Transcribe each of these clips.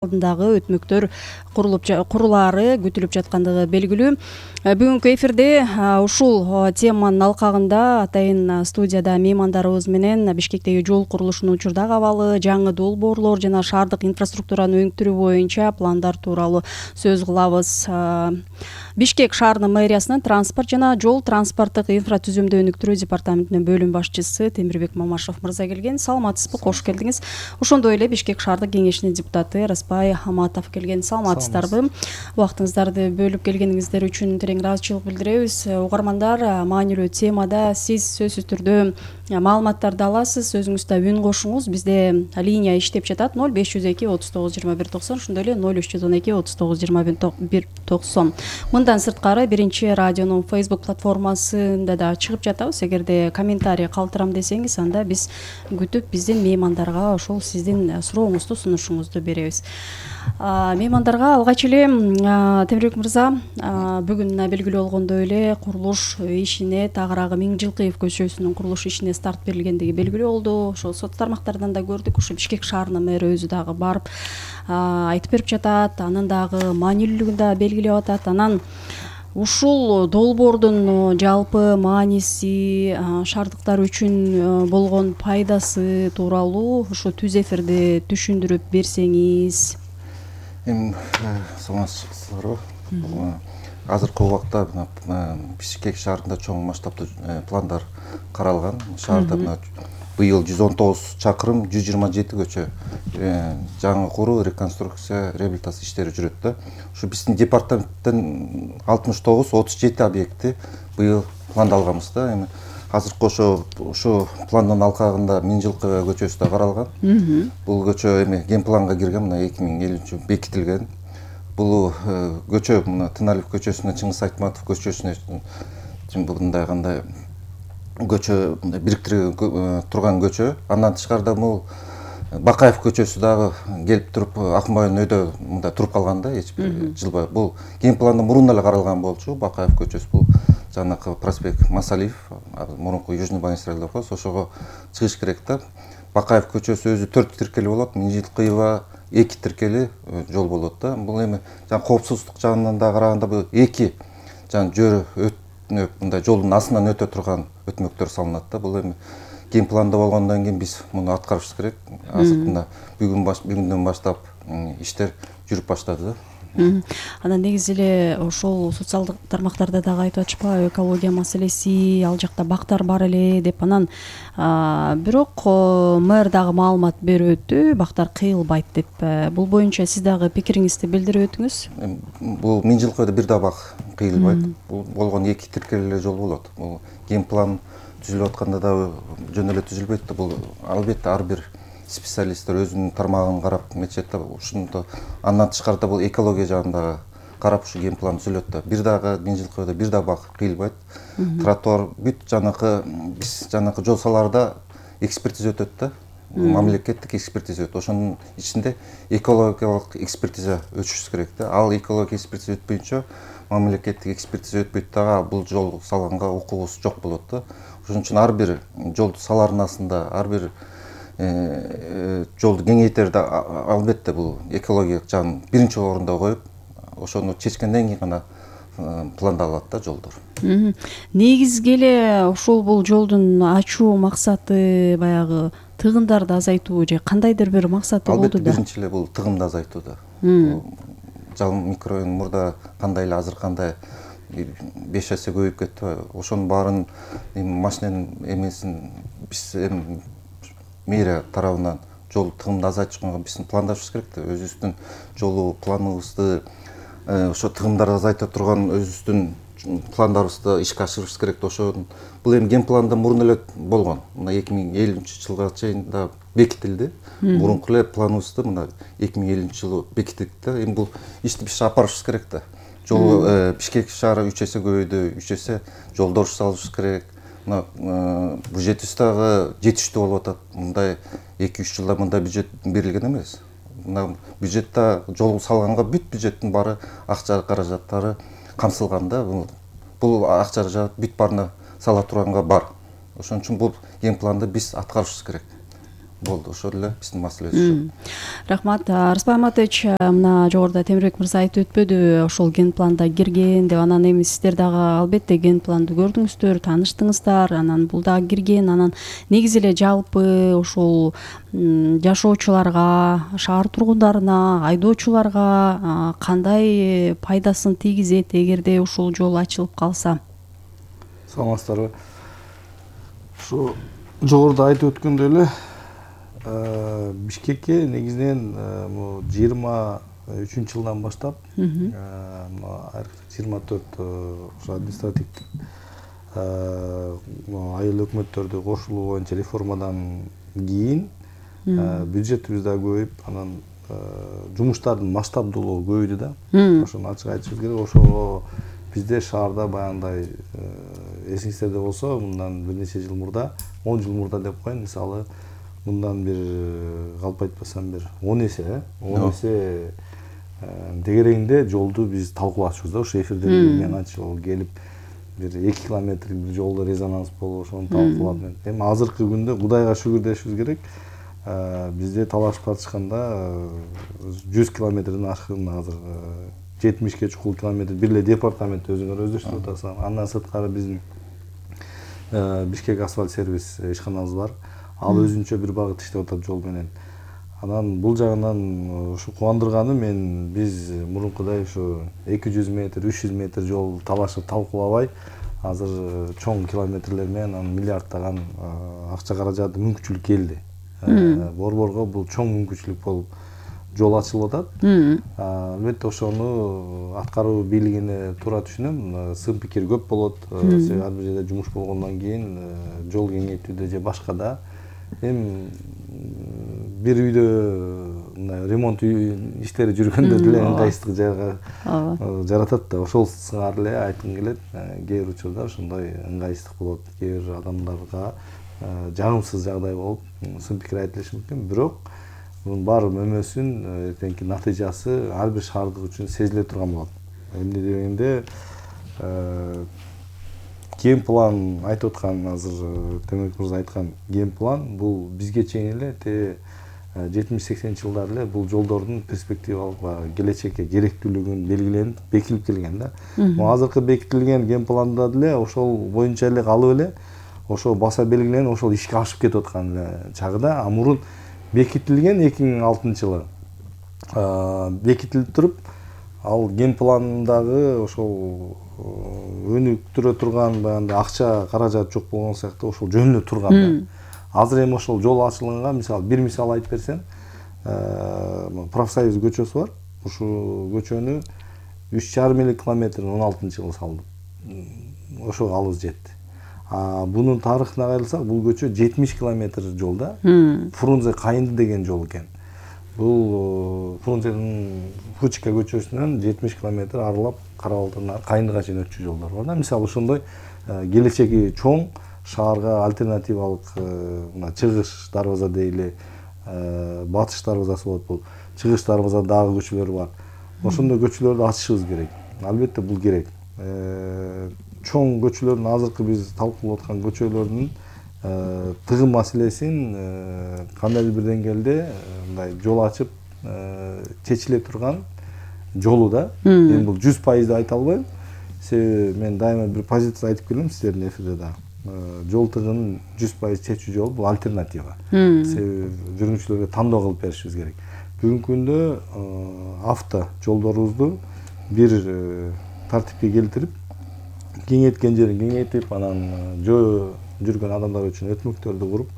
алдындагы өтмөктөр курулаары күтүлүп жаткандыгы белгилүү. Бүгүнкү эфирде ушул теманын алкагында атайын студияда меймандарыбыз менен Бишкектеги жол курулушунун учурдагы абалы, жаңы долбоорлор жана шаардык инфраструктураны өнүктүрүү боюнча пландар тууралуу сөз кылабыз. Бишкек шаарынын мэриясынын транспорт жана жол транспорттук инфратүзүмдү өнүктүрүү департаментинин бөлүм башчысы Темирбек Мамашев мырза келген. Саламатсызбы, кош келдиңиз. Ошондой эле Бишкек шаардык кеңешинин депутаты Распай Аматов келген. Саламатсыздарбы? Убактыңыздарды бөлүп келгениңиздер үчүн терең ыраазычылык билдиребиз. Угармандар, маанилүү темада сиз сөзсүз түрдө маалыматтарды аласыз, өзүңүз да үн кошуңуз. Бизде линия иштеп жатат 0502 39 21 90, ошондой эле 0312 39 21 90. Мындан сырткары биринчи радионун Facebook платформасында да чыгып жатабыз. Эгерде комментарий калтырам десеңиз, анда биз күтүп биздин меймандарга ошол сиздин сурооңузду, сунушуңузду беребиз. Меймандарга алгач эле Темирбек мырза, бүгүн белгилүү болгондой эле курулуш ишине Тагыраагы Миңжилкыев көчөсүнүн курулуш ишине старт берилгендиги белгилүү болду. Ошол соц тармактардан да көрдүк. Ушу Бишкек шаарынын мэри өзү дагы барып айтып берип жатат, анын дагы маанилүүлүгүн да белгилеп атат. Анан ушул долбоордун жалпы мааниси, шаардыктар үчүн болгон пайдасы тууралуу ушу түз эфирде түшүндүрүп берсеңиз. Саламатсыздарбы? Азыркы убакта Бишкек шаарында чоң масштабтуу пландар каралган. Шаарда быйыл 119 чакырым, 127 көчө жаңы куруу, реконструкция, реабилитация иштери жүрөт да. Ушу биздин департаменттен 69-37 объекти быйыл пландалганбыз да. Эми азыркы ошо пландын алкагында Миңжилкыев көчөсү да каралган. Бул көчө эми ген планга кирген, мына 2050 бекитилген. Бул көчө мына Тыналиев көчөсүнө, Чыңгыз Айтматов көчөсүнө мындай кандай көчө бириктирген турган көчө. Андан тышкарыда бул Бакаев көчөсү дагы келип туруп Акмайын өйдө мындай туруп калган да, эч бир жылбай. Бул ген планда мурун эле каралган болчу. Бакаев көчөсү бул жанакы проспект Масалиев, мурунку Южный магистраль деп коебуз, ошого чыгыш керек да. Бакаев көчөсү өзү 4 тиркели болот, Миңжилкыева 2 тиркели жол болот да. Бул эми коопсуздук жагынан да караганда бул 2 жөрө мындай жолдун астынан өтө турган өтмөктөр салынат да. Бул эми ген планда болгондон кийин биз муну аткарышыбыз керек. Азыркында бүгүндөн баштап иштер жүрүп баштады да. Анан негизи эле ошол социалдык тармактарда дагы айтып атышпайбы, экология маселеси, ал жакта бактар бар эле деп. Анан бирок мэр дагы маалымат берип өттү, бактар кыйылбайт деп. Бул боюнча сиз дагы пикириңизди билдирип өтүңүз. Бул Миңжилкыевде бир да бак кыйылбайт. Бул болгон 2 тиркелүү жол болот. Бул ген план түзүлүп атканда да жөн эле түзүлбөйт да. Бул албетте ар бир специалисттер өзүнүн тармагын карап метет да. Ушунда андан тышкарыда бул экология жагында карап ушу ген план түзүлөт да. Бир дагы Миңжилкыевде бир да бак кыйылбайт. Тротуар бүт биз жанакы жол салаарда экспертиза өтөт да. Мамлекеттик экспертиза өтөт. Ошонун ичинде экологиялык экспертиза өтүшүбүз керек да. Ал экологиялык экспертиза өтпөйүнчө, мамлекеттик экспертиза өтпөйт дагы, бул жол салганга укугубуз жок болот да. Ошон үчүн ар бир жолду салаардын астында ар бир жолду кеңейтерде албетте бул экологиялык жагын биринчи орунда коюп, ошону чечкенден кийин гана пландалат да жолдор. Негизги эле ушул бул жолдун ачуу максаты баягы тыгындарды азайтуу же кандайдыр бир максаты болду да? Албетте биринчи эле бул тыгымды азайтуу да. Жалын микрорайон мурда кандай эле азыр кандай 5 эсе көбөйүп кетти. Ошонун баарын машиненин эмесин биз эми мэрия тарабынан жол тыгымды азайтышка биздин пландашыбыз керек да. Өзүбүздүн жолу планыбызды ошо тыгымдарды азайта турган өзүбүздүн пландарыбызды ишке ашырышыбыз керек да. Ошон бул эми ген планда мурун эле болгон. Мына 2050 жылга чейин да бекитилди. Мурунку эле планыбызды мына 2050 жылы бекиттик да. Эми бул ишти биз апарышыбыз керек да. Жол Бишкек шаары 3 эсе көбөйдү, 3 эсе жолдор салышыбыз керек. Мына бюджетибиз дагы жетиштүү болуп атат. Мындай 2-3 жылда мындай бюджет берилген эмес. Мына бюджетте жол салганга бүт бюджеттин баары акча каражаттары камсылган да. Бул акча каражат бүт баарына сала турганга бар. Ошон үчүн бул ген планды биз аткарышыбыз керек. болду. Ошол эле биздин маселебиз. Рахмат. Рыспай Аматович, мына жогоруда Темирбек мырза айтып өтпөдү, ошол ген планда кирген деп. Анан эми сиздер дагы албетте ген планды көрдүңүздөр, тааныштыңыздар, анан бул дагы кирген. Анан негизи эле жалпы ошол жашоочуларга, шаар тургундарына, айдоочуларга кандай пайдасын тийгизет эгерде ушул жол ачылып калса? Саламатсыздарбы. Ушу жогоруда айтып өткөндөй эле Бишкекке негизинен 23 жылдан баштап 24 административдик айыл өкмөттөрдү кошулуу боюнча реформадан кийин бюджетибиз да көбөйүп, анан жумуштардын масштабдуулугу көбөйдү да. Ошону ачык айтышыбыз керек. Ошого бизде шаарда баягындай эсиңиздерде болсо, мындан бир нече жыл мурда, 10 жыл мурда деп коеюн, мисалы, мындан бир калп айтпасам бир 10 эсе дегерегинде жолду биз талкуулашыбыз да. Ошо эфирде мен канча жол келип, бир 2 километрлик бир жолдо резонанс болуп, ошону талкуулап. Эми азыркы күндө Кудайга шүгүр дешибиз керек. Бизде талашып тартышканда 100 километрден ашкын азыр 70ке чукул километр бир эле департамент өзүңөр өздөштүрүп атасыңар. Андан сырткары биздин Бишкек асфальт сервис ишканабыз бар. Ал өзүнчө бир багыт иштеп атат жол менен. Анан бул жагынан ушу кубандырганы, биз мурункудай ушу 200 метр, 300 метр жол талашып талкуулабай, азыр чоң километрлер менен миллиарддаган акча каражаты мүмкүнчүлүк келди. Борборго бул чоң мүмкүнчүлүк болуп жол ачылып атат. Албетте ошону аткаруу бийлигине туура түшүнөм. Сын пикир көп болот. Себеби ар бир жерде жумуш болгондон кийин жол кеңейтүүдө же башкада эми бир үйдө мындай ремонт иштери жүргөндө деле ыңгайсыздык жаратат да. Ошол сыңар эле айткым келет. Кээ бир учурда ошондой ыңгайсыздык болот. Кээ бир адамдарга жагымсыз жагдай болуп, сын пикир айтылышы мүмкүн. Бирок bunun бар мөмөсүн эртеңки натыйжасы ар бир шаардык үчүн сезиле турган болот. Эмне дегенде ген план айтып аткан, азыр Темирбек мырза айткан ген план бул бизге чейин эле 70-80 жылдар эле бул жолдордун перспективалык келечекке керектүүлүгүн белгиленип, бекилип келген да. Азыркы бекитилген ген планда деле ошол боюнча эле калып эле, ошол баса белгиленип, ошол ишке ашып кетип аткан чагыда, мурун бекитилген 2006-жылы бекитилип туруп, ал ген пландагы ошол өнүктүрө турган баягындай акча каражат жок болгон сыяктуу ошол жөнүнө турган да. Азыр эми ошол жол ачылганга, мисалы, бир мисал айтып берсем, Профсоюз көчөсү бар. Ушул көчөнү 3,5 километрин 16-жылы салдым. Ошого алыбыз жетти. Bunun тарыхына кайрылсак, бул көчө 70 километр жолда. Фрунзе Кайынды деген жол экен. Бул Фрунзенин Фучка көчөсүнөн 70 километр аралап Карабалдан Кайындыга чейин өтчү жолдор бар да. Мисалы, ошондой келечеги чоң шаарга альтернативалык мына чыгыш дарбаза дейли, батыш дарбазасы болот бул. Чыгыш дарбаза дагы көчөлөр бар. Ошондой көчөлөрдү ачышыбыз керек. Албетте бул керек. Чоң көчөлөрдүн, азыркы биз талкуулап аткан көчөлөрдүн тыгын маселесин кандайдыр бир деңгээлде мындай жол ачып чечиле турган жолу да. Эми бул 100% айта албайм. Себеби мен дайыма бир позиция айтып келем сиздердин эфирде да. Жол тыгынын 100% чечүү жолу бул альтернатива. Себеби жүргүнчүлөргө тандоо кылып беришибиз керек. Бүгүнкү күндө авто жолдорубузду бир тартипке келтирип, кеңейткен жерин кеңейтип, анан жүргөн адамдар үчүн өтмөктөрдү куруп,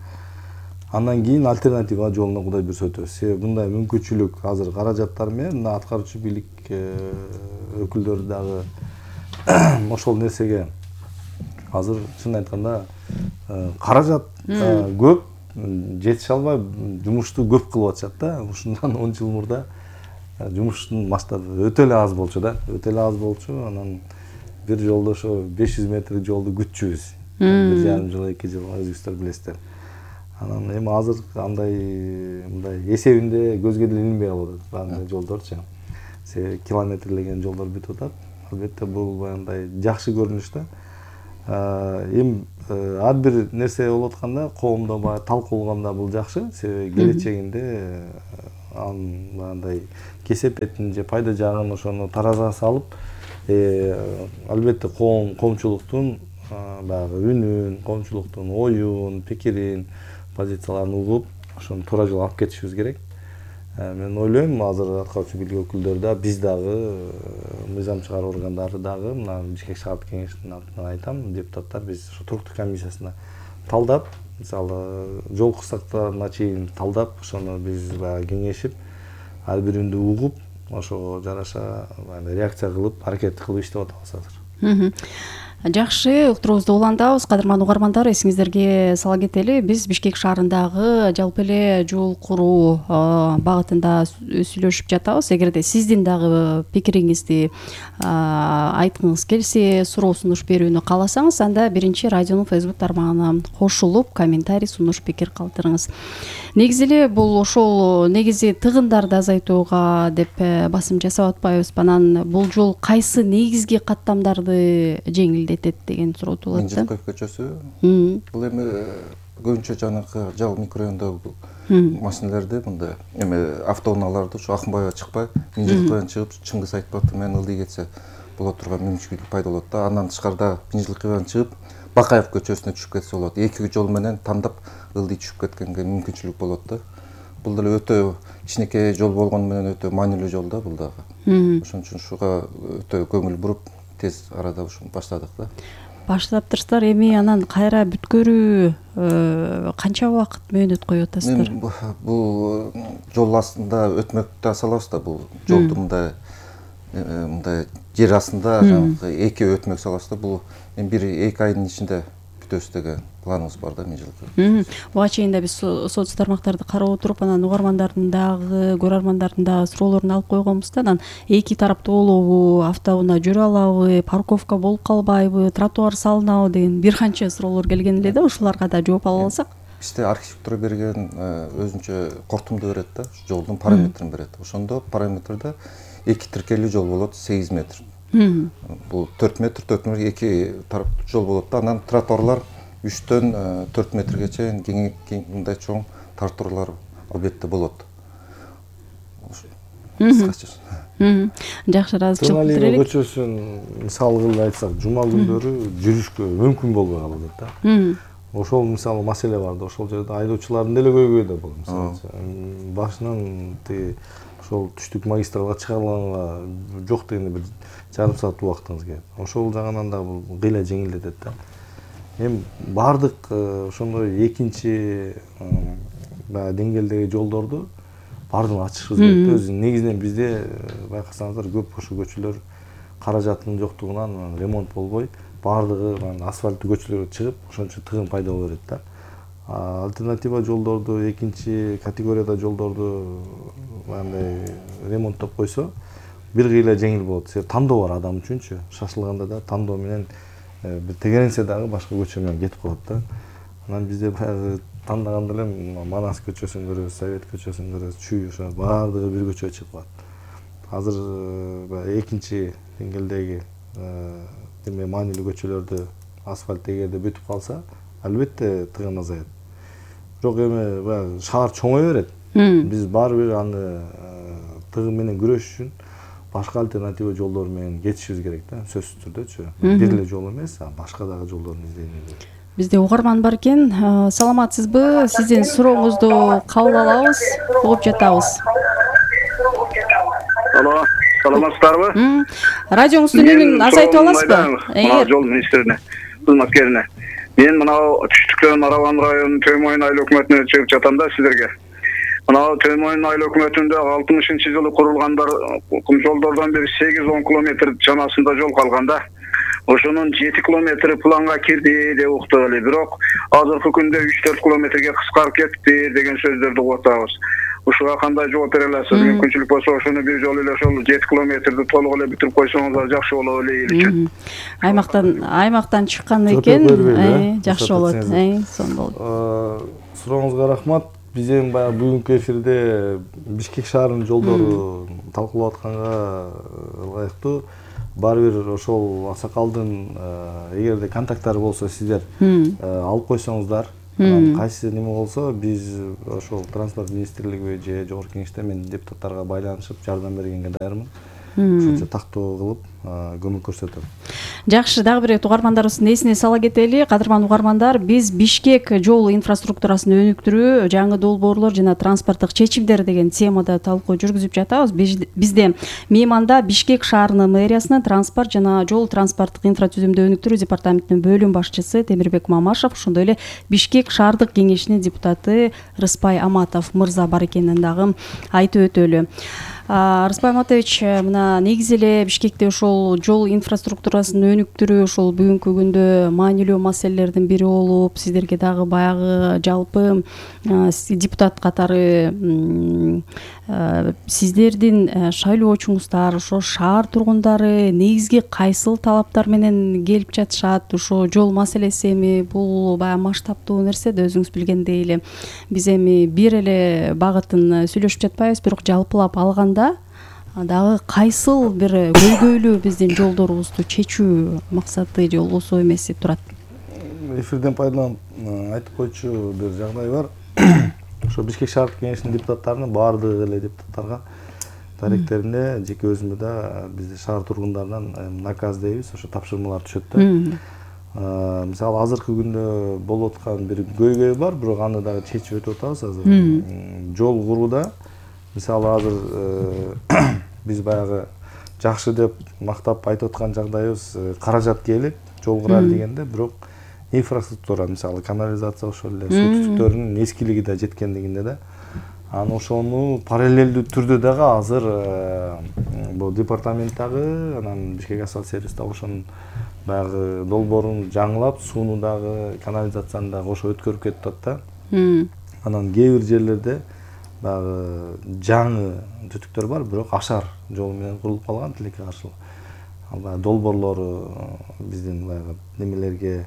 андан кийин альтернатива жолуна Кудай буйрса өтөбүз. Себеби мындай мүмкүнчүлүк азыр каражаттар менен аткаруучу бийлик өкүлдөрү дагы ошол нерсеге азыр чын айтканда каражат көп, жетише албай жумушту көп кылып атышат да. Ушундан 10 жыл мурда жумуштун масштабы өтө эле аз болчу да. Өтө эле аз болчу. Анан бир жолдо ошо 500 метрлик жолду күтчүбүз. 1,5 жыл, 2 жыл өзүңүздөр билесиздер. Анан эми азыр андай мындай эсебинде көзгө деле илинбей калып атат баардык жолдорчу. Себеби километрлеген жолдор бүтүп атат. Албетте бул баягындай жакшы көрүнүш да. Эми ар бир нерсе болуп атканда коомдо баягы талкуулаганда бул жакшы, себеби келечегинде анын мындай кесепетин же пайда жагын ошону таразага салып, албетте коомчулуктун баягы үнүн, коомчулуктун оюн, пикирин, позицияларын угуп, ошону туура жолго алып кетишибиз керек. Мен ойлойм, азыр аткарчу бийлик өкүлдөрү да, биз дагы, мыйзам чыгаруу органдары дагы, мына Бишкек шаардык кеңештин атынан айтам, депутаттар биз ошо туруктуу комиссиясына талдап, мисалы жол кырсыктарына чейин талдап, ошону биз баягы кеңешип, ар бириндүү угуп, ошого жараша реакция кылып, аракет кылып иштеп атабыз азыр. Жакшы, уктуруубузду улантабыз. Кадырман угармандар, эсиңиздерге сала кетели, биз Бишкек шаарындагы жалпы эле жол куруу багытында сүйлөшүп жатабыз. Эгерде сиздин дагы пикириңизди айткыңыз келсе, суроо сунуш берүүнү кааласаңыз, анда биринчи радионун Facebook тармагына кошулуп, комментарий, сунуш, пикир калтырыңыз. Негизи эле бул ошол негизи тыгындарды азайтууга деп басым жасап атпайбызбы? Анан бул жол кайсы негизги каттамдарды жеңилдетет деген суроо туулат да. Мынчылкоев көчөсү. Бул эми көбүнчө жанакы жал микрорайондогу машиналерди, мындай эми автоунааларды ушу Акынбаева чыкпай, Мынчылкоевдон чыгып Чыңгыз Айтбатов менен ылдый кетсе боло турган мүмкүнчүлүк пайда болот да. Андан тышкарыда Мынчылкоевдон чыгып Бакаев көчөсүнө түшүп кетсе болот. Эки жол менен тандап ылдый түшүп кеткенге мүмкүнчүлүк болот да. Бул деле өтө кичинекей жол болгону менен өтө маанилүү жол да бул дагы. Ошон үчүн ушуга өтө көңүл буруп, тез арада ушуну баштадык да. Баштаптырсыздар, эми анан кайра бүткөрүү канча убакыт мөөнөт коюп атасыздар? Бул жол астында өтмөктү асалабыз да, бул жолду мындай жер астында жанагы эки өтмөк салабыз да. Бул эми 1-2 айдын ичинде бүтөбүз деген планыбыз бар да Мынчылкоев. Буга чейин да биз соц тармактарды карап отуруп, анан угармандардын дагы, көрөрмандардын дагы суроолорун алып койгонбуз да. Анан эки тараптуу болобу, автоунаа жүрө алабы, парковка болуп калбайбы, тротуар салынабы деген бир канча суроолор келген эле да. Ушуларга да жооп ала алсак. Бизде архитектура берген өзүнчө кортумду берет да, жолдун параметрин берет. Ошондо параметрде эки тиркелүү жол болот, 8 метр. Бул 4 метр, 4 метр эки тараптуу жол болот да. Анан тротуарлар 3-төн 4 метрге чейин мындай чоң тротуарлар албетте болот. Жакшы, ыраазычылык билдирелик. Көчөсүн мисал кылып айтсак, жума күндөрү жүрүшкө мүмкүн болбой калат да. Ошол мисалы маселе бар да, ошол жерде айдоочулардын деле көйгөйү да бул. Мисалы башынан тиги ошол түштүк магистралга чыгарылганга жок дегенде бир жарым саат убактыңыз кетет. Ошол жагынан да бул кыйла жеңилдетет да. Эми бардык ошондой экинчи деңгээлдеги жолдорду бардыгын ачышыбыз керек да. Өзү негизинен бизде байкасаңыздар көп ошо көчөлөр каражаттын жоктугунан ремонт болбой, бардыгы асфальттуу көчөлөргө чыгып, ошон үчүн тыгын пайда боло берет да. Альтернатива жолдорду, экинчи категорияда жолдорду андай ремонттоп койсо, бир кыйла жеңил болот. Себеби тандоо бар адам үчүнчү. Шашылганда да тандоо менен бир тегеренсе дагы башка көчө менен кетип калат да. Анан бизде баягы тандаганда эле Манас көчөсүн көрөбүз, Совет көчөсүн көрөбүз, Чүй, ошо баардыгы бир көчөгө чыгып калат. Азыр баягы экинчи деңгээлдеги эме маанилүү көчөлөрдү асфальт эгерде бүтүп калса, албетте тыгын азаят. Бирок эми баягы шаар чоңое берет. Биз баары бир аны тыгын менен күрөшүш үчүн башка альтернатива жолдор менен кетишибиз керек да, сөзсүз түрдөчү. Бир эле жол эмес, башка дагы жолдорду издейбиз керек. Бизде угарман бар экен. Саламатсызбы? Сиздин сурооңузду кабыл алабыз, угуп жатабыз. Алло, саламатсыздарбы? Радионуздун үнүн азайтып аласызбы? Мына жол министрине, кызматкерине. Мен мынау түштүктөн Араван районунун Төмөйүн айыл өкмөтүнө чыгып жатам да силерге. Мынау Төмөйүн айыл өкмөтүндө 60-жылы курулгандар жолдордон бири 8-10 километр чамасында жол калган да. Ошонун 7 километри планга кирди деп уктук эле. Бирок азыркы күндө 3-4 километрге кыскарып кетти деген сөздөрдү угуп атабыз. Ушуга кандай жооп бере аласыз? Мүмкүнчүлүк болсо ошону бир жолу эле ошол 7 километрди толук эле бүтүрүп койсоңуздар жакшы болот эле эл үчүн. Аймактан чыккан экен, жакшы болот. Сонун болот. Сурооңузга рахмат. Биз эми баягы бүгүнкү эфирде Бишкек шаарынын жолдору талкуулап атканга ылайыктуу баары бир ошол аксакалдын эгерде контакттары болсо сиздер алып койсоңуздар, кайсы неме болсо биз ошол транспорт министрлиги же жогорку кеңеште мен депутаттарга байланышып жардам бергенге даярмын. Ошончо тактоо кылып көмөк көрсөтөм. Жакшы, дагы бир угармандарыбыздын эсине сала кетели. Кадырман угармандар, биз Бишкек жол инфраструктурасын өнүктүрүү, жаңы долбоорлор жана транспорттук чечимдер деген темада талкуу жүргүзүп жатабыз. Бизде мейманда Бишкек шаарынын мэриясынын транспорт жана жол транспорттук инфратүзүмдү өнүктүрүү департаментинин бөлүм башчысы Темирбек Мамашев, ошондой эле Бишкек шаардык кеңешинин депутаты Рыспай Аматов мырза бар экенин дагы айтып өтөлү. Рыспай Аматович, мына негизи эле Бишкекте ошол жол инфраструктурасын өнүктүрүү ошол бүгүнкү күндө маанилүү маселелердин бири болуп, сиздерге дагы баягы жалпы депутат катары сиздердин шайлоочуңуздар, ошо шаар тургундары негизги кайсыл талаптар менен келип жатышат? Ошо жол маселеси эми бул баягы масштабтуу нерсе да, өзүңүз билгендей эле биз эми бир эле багытын сүйлөшүп жатпайбыз, бирок жалпылап алганда дагы кайсыл бир көйгөйлүү биздин жолдорубузду чечүү максаты же болбосо эмеси турат? Эфирден пайдаланып айтып койчу бир жагдай бар. Ошо Бишкек шаардык кеңешинин депутаттарынын баардык эле депутаттарга даректеринде, жеке өзүмө да бизде шаар тургундарынан наказ дейбиз, ошо тапшырмалар түшөт да. Мисалы азыркы күндө болуп аткан бир көйгөй бар, бирок аны дагы чечип өтүп атабыз азыр. Жол курууда мисалы азыр биз баягы жакшы деп мактап айтып аткан жагдайыбыз, каражат келип жол курайлы дегенде, бирок инфраструктура, мисалы канализация, ошол эле суу түтүктөрүнүн эскилиги да жеткендигинде да, аны ошону параллелдүү түрдө дагы азыр бул департамент дагы, анан Бишкек асфальт сервис дагы ошонун баягы долбоорун жаңылап, сууну дагы, канализацияны дагы ошо өткөрүп кетип атат да. Анан кээ бир жерлерде баягы жаңы түтүктөр бар, бирок ашар жол менен курулуп калган, тилекке каршылык. Ал баягы долбоорлору биздин баягы немелерге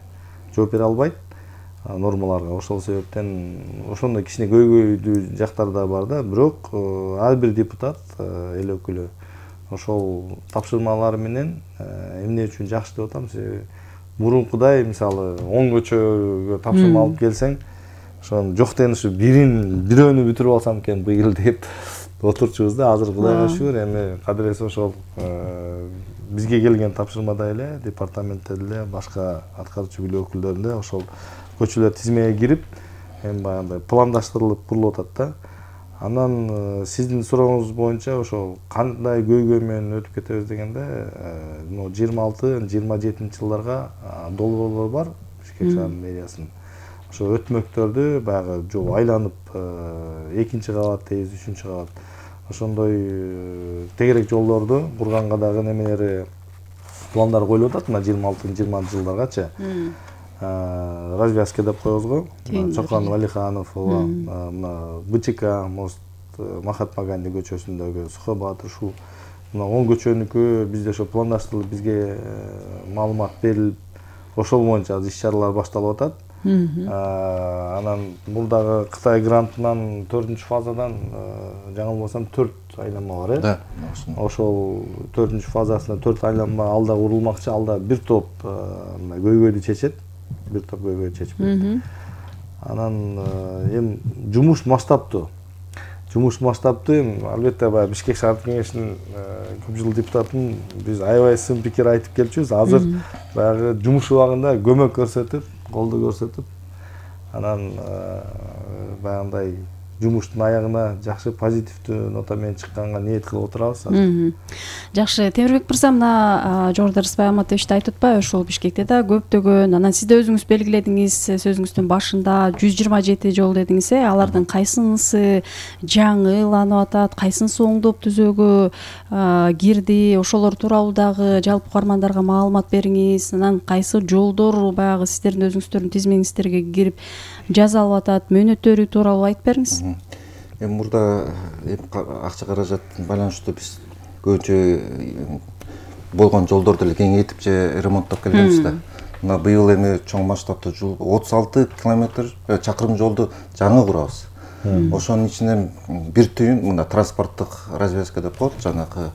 жооп бере албайт, нормаларга. Ошол себептен ошондой кичине көйгөйдүү жактар да бар да, бирок ар бир депутат, эл өкүлү ошол тапшырмалар менен эмне үчүн жакшы деп атам, мурункудай мисалы 10 көчөгө тапшырма алып келсең, ошонун жок дегенде ушу бирөөнү бүтүрүп алсам экен быйыл деп отурчубуз да. Азыр Кудайга шүгүр, эми кадыресе ошол бизге келген тапшырмада эле департаментте деле башка аткаруучу бийлик өкүлдөрүндө ошол көчөлөр тизмеге кирип, эми баягындай пландаштырылып курулуп атат да. Анан сиздин сурооңуз боюнча ошол кандай көйгөй менен өтүп кетебиз дегенде, 26-27 жылдарга долбоорлор бар Бишкек шаарынын мэриясынын. Ошо өтмөктөрдү баягы жол айланып, 2-чи кабат дейбиз, 3-чү кабат. Ошондой тегерек жолдорду курганга дагы немелери пландар коюлуп атат, мына 26-20 жылдаргачы. Развязка деп коебуз го. Чокон Валиханов, БЧК, мост Махатма Ганди көчөсүндөгү, Сухой Баатыр, ушул мына 10 көчөнүкү бизде ошо пландаштырылып, бизге маалымат берилип, ошол боюнча иш-чаралар башталып атат. Анан бул дагы Кытай грантынан 4-фазадан жаңылбасам 4 айланма бар, Да. Ошол 4-фазасында 4 айланма алда курулмакчы, алда бир топ көйгөйдү чечет, бир топ көйгөйдү чечип берет. Анан эми жумуш масштабтуу. Эми албетте баягы Бишкек шаардык кеңешинин көп жыл депутатын биз аябай сын пикир айтып келчүбүз. Азыр баягы жумуш убагында көмөк көрсөтүп, колдоо көрсөтүп, анан баягындай жумуштун аягына жакшы позитивдүү нота менен чыкканга ниет кылып отурабыз. Жакшы, Темирбек мырза, мына жогоруда Рыспай Аматович айтып атпайбы, ошол Бишкекте да көптөгөн, анан сиз да өзүңүз белгиледиңиз, сөзүңүздүн башында 127 жол дедиңиз, алардын кайсынысы жаңыланып атат, кайсынысы оңдоп түзөөгө кирди, ошолор тууралуу дагы жалпы угармандарга маалымат бериңиз. Анан кайсы жолдор баягы сиздердин өзүңүздөрдүн тизмеңиздерге кирип жасалып атат, мөөнөттөрү тууралуу айтып бериңиз. Эми мурда акча каражаттын байланыштуу биз көбүнчө болгон жолдорду эле кеңейтип же ремонттоп келгенбиз да. Мына быйыл эми чоң масштабтуу жол 36 километр чакырым жолду жаңы курабыз. Ошонун ичинен бир түйүн мына транспорттук развязка деп коет, жанагы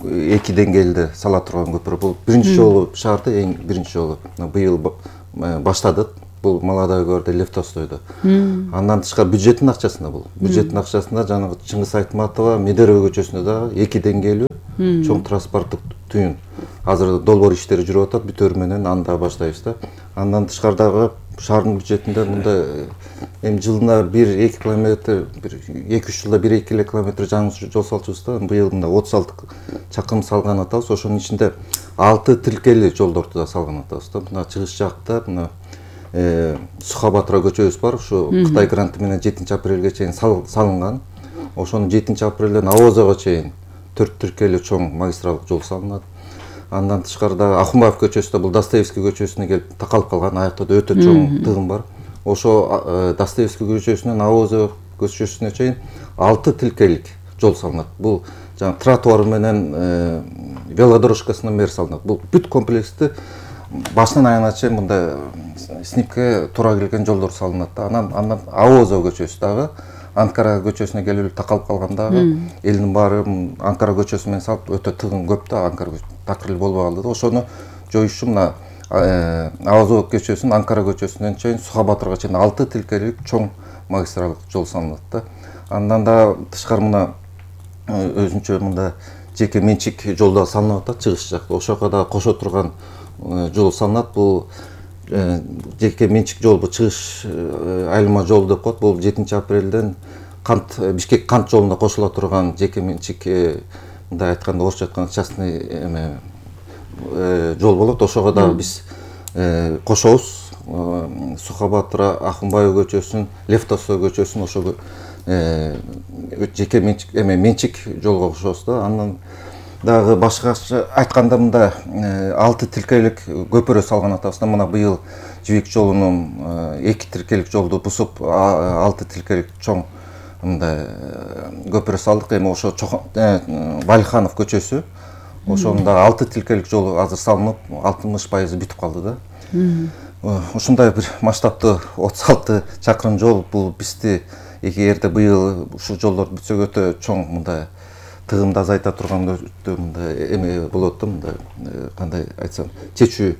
2 деңгээлде сала турган көпүрө. Бул биринчи жолу шаарда, эң биринчи жолу. Быйыл баштадык. Бул Молодой городе Лефтостойдо. Андан тышкары бюджеттин акчасында бул. Бюджеттин акчасында жанагы Чыңгыз Айтматова Медерево көчөсүндө дагы 2 деңгээлүү чоң транспорттук түйүн. Азыр долбоор иштери жүрүп атат, бүтөрү менен анда баштайбыз да. Андан тышкары дагы шаардын бюджетинде мында эми жылына 1-2 километр, 2-3 жылда 1-2 километр жаңы жол салчубуз да. Быйыл мында 36 чакырым салган атабыз. Ошонун ичинде 6 тилкели жолдорду да салган атабыз да. Мына чыгыш жакта мына Сухабатыра көчөбүз бар. Ушу Кытай гранты менен 7-апрелге чейин салынган. Ошонун 7-апрелден Авозого чейин 4 тилкели чоң магистралдык жол салынат. Андан тышкары дагы Ахунбаев көчөсүндө бул Достоевский көчөсүнө келип такалып калган, аякта да өтө чоң тыгын бар. Ошо Достоевский көчөсүнөн Авозо көчөсүнө чейин 6 тилкелик жол салынат. Бул жана тротуар менен велодорожкасынан бери салынат. Бул бүт комплексти башынан аягына чейин мында снимке туура келген жолдор салынат да. Андан Авозо көчөсү дагы Анкара көчөсүнө келип такалып калгандагы элдин баары Анкара көчөсү менен салып өтө тыгын көп да, Анкара такыр эле болбой калды да. Ошону жоюш үчүн мына Авозо көчөсүнөн Анкара көчөсүнөн чейин Сухабатырга чейин 6 тилкелик чоң магистралдык жол салынат да. Андан да тышкары мына өзүнчө мында жеке менчик жол да салынып атат чыгыш жакта. Ошого да кошо турган жол салынат. Бул жеке менчик жол, бул чыгыш айылма жол деп коет. Бул 7-апрелден кант Бишкек кант жолуна кошула турган жеке менчик, мындай айтканда орусча айтканда частный жол болот. Ошого дагы биз кошобуз. Сухабатыра, Ахунбаев көчөсүн, Лефтостой көчөсүн ошого жеке менчик жолго кошобуз да. Андан дагы башкача айтканда мында 6 тилкелик көпүрө салган атабыз да. Мына быйыл Жибек жолунун 2 тилкелик жолду бусуп 6 тилкелик чоң мындай көпүрө салдык. Эми ошо Валиханов көчөсү, ошонун дагы 6 тилкелик жолу азыр салынып 60% бүтүп калды да. Ушундай бир масштабтуу 36 чакырым жол бул бизди эгерде быйыл ушул жолдор бүтсө өтө чоң мындай тыгымды азайта турган өтө мындай эме болот да. Мындай кандай айтсам, чечүүчү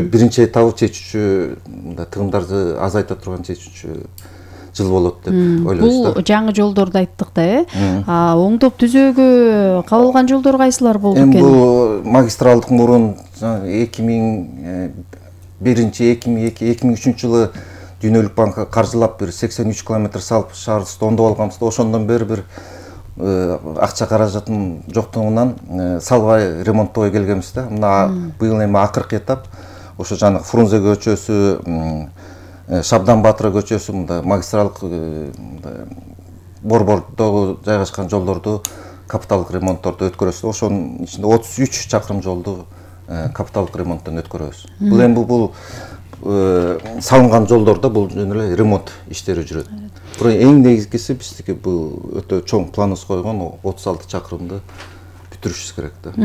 биринчи этабы чечүүчү мындай тыгымдарды азайта турган чечүүчү жыл болот деп ойлойбуз да. Бул жаңы жолдорду айттык да, оңдоп түзөөгө кабылган жолдор кайсылар болду экен? Бул магистралдык мурун 2001-2003 жылы Дүйнөлүк банк каржылап бир 83 километр салып шаарыбызды оңдоп алганбыз да. Ошондон бери бир акча каражаттын жоктугунан салбай ремонттогой келгенбиз да. Мына быйыл эми акыркы этап ошо жанагы Фрунзе көчөсү, Шабдан Батыра көчөсү мында магистралдык борбордогу жайгашкан жолдорду капиталдык ремонтторду өткөрөбүз. Ошонун ичинде 33 чакырым жолду капиталдык ремонттон өткөрөбүз. Бул эми бул салынган жолдордо бул жөн эле ремонт иштери жүрөт. Бирок эң негизгиси биздики бул өтө чоң планыбыз койгон 36 чакырымды бүтүрүшүбүз керек да.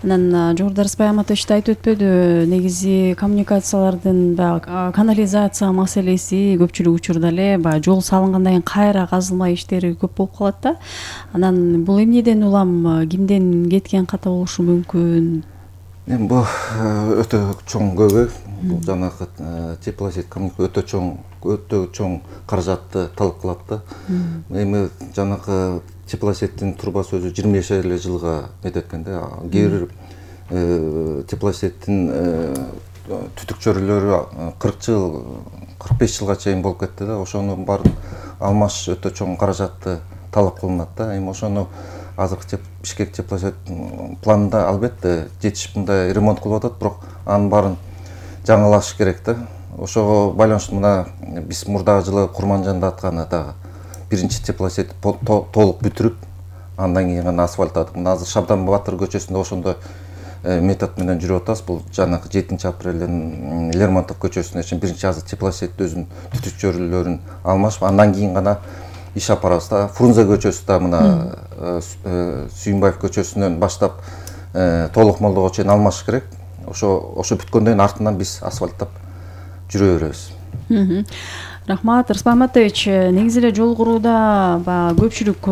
Анан жогоруда Рыспай Аматович да айтып өтпөдү, негизи коммуникациялардын баягы канализация маселеси көпчүлүк учурда эле баягы жол салынгандан кийин кайра казылма иштери көп болуп калат да. Анан бул эмнеден улам, кимден кеткен ката болушу мүмкүн? Эми бул өтө чоң көйгөй. Бул жанагы теплосеть өтө чоң каражатты талап кылат да. Эми жанагы теплосеттин трубасы өзү 25 эле жылга мететкен да. Кээ бир теплосеттин түтүкчөлөрү 40 жыл, 45 жылга чейин болуп кетти да. Ошону баарын алмаш өтө чоң каражатты талап кылынат да. Эми ошону азыркы Бишкек теплосет планында албетте жетишип мындай ремонт кылып атат, бирок анын баарын жаңылаш керек да. Ошого байланыштуу мына биз мурдагы жылы Курманжанда атканы дагы биринчи теплосет толук бүтүрүп, андан кийин гана асфальттадык. Мына азыр Шабдан Батыр көчөсүндө ошондой метод менен жүрүп атабыз. Бул жанагы 7-апрелден Лермонтов көчөсүнө чейин биринчи азыр теплосет өзүнүн түтүкчөлөрүн алмашып, андан кийин гана иш апарабыз да. Фрунзе көчөсү да мына Сүйүнбаев көчөсүнөн баштап толук молдого чейин алмаш керек. Ошо бүткөндөн артынан биз асфальттап жүрө беребиз. Рахмат, Рыспан Матович. Негизи эле жол курууда баягы көпчүлүк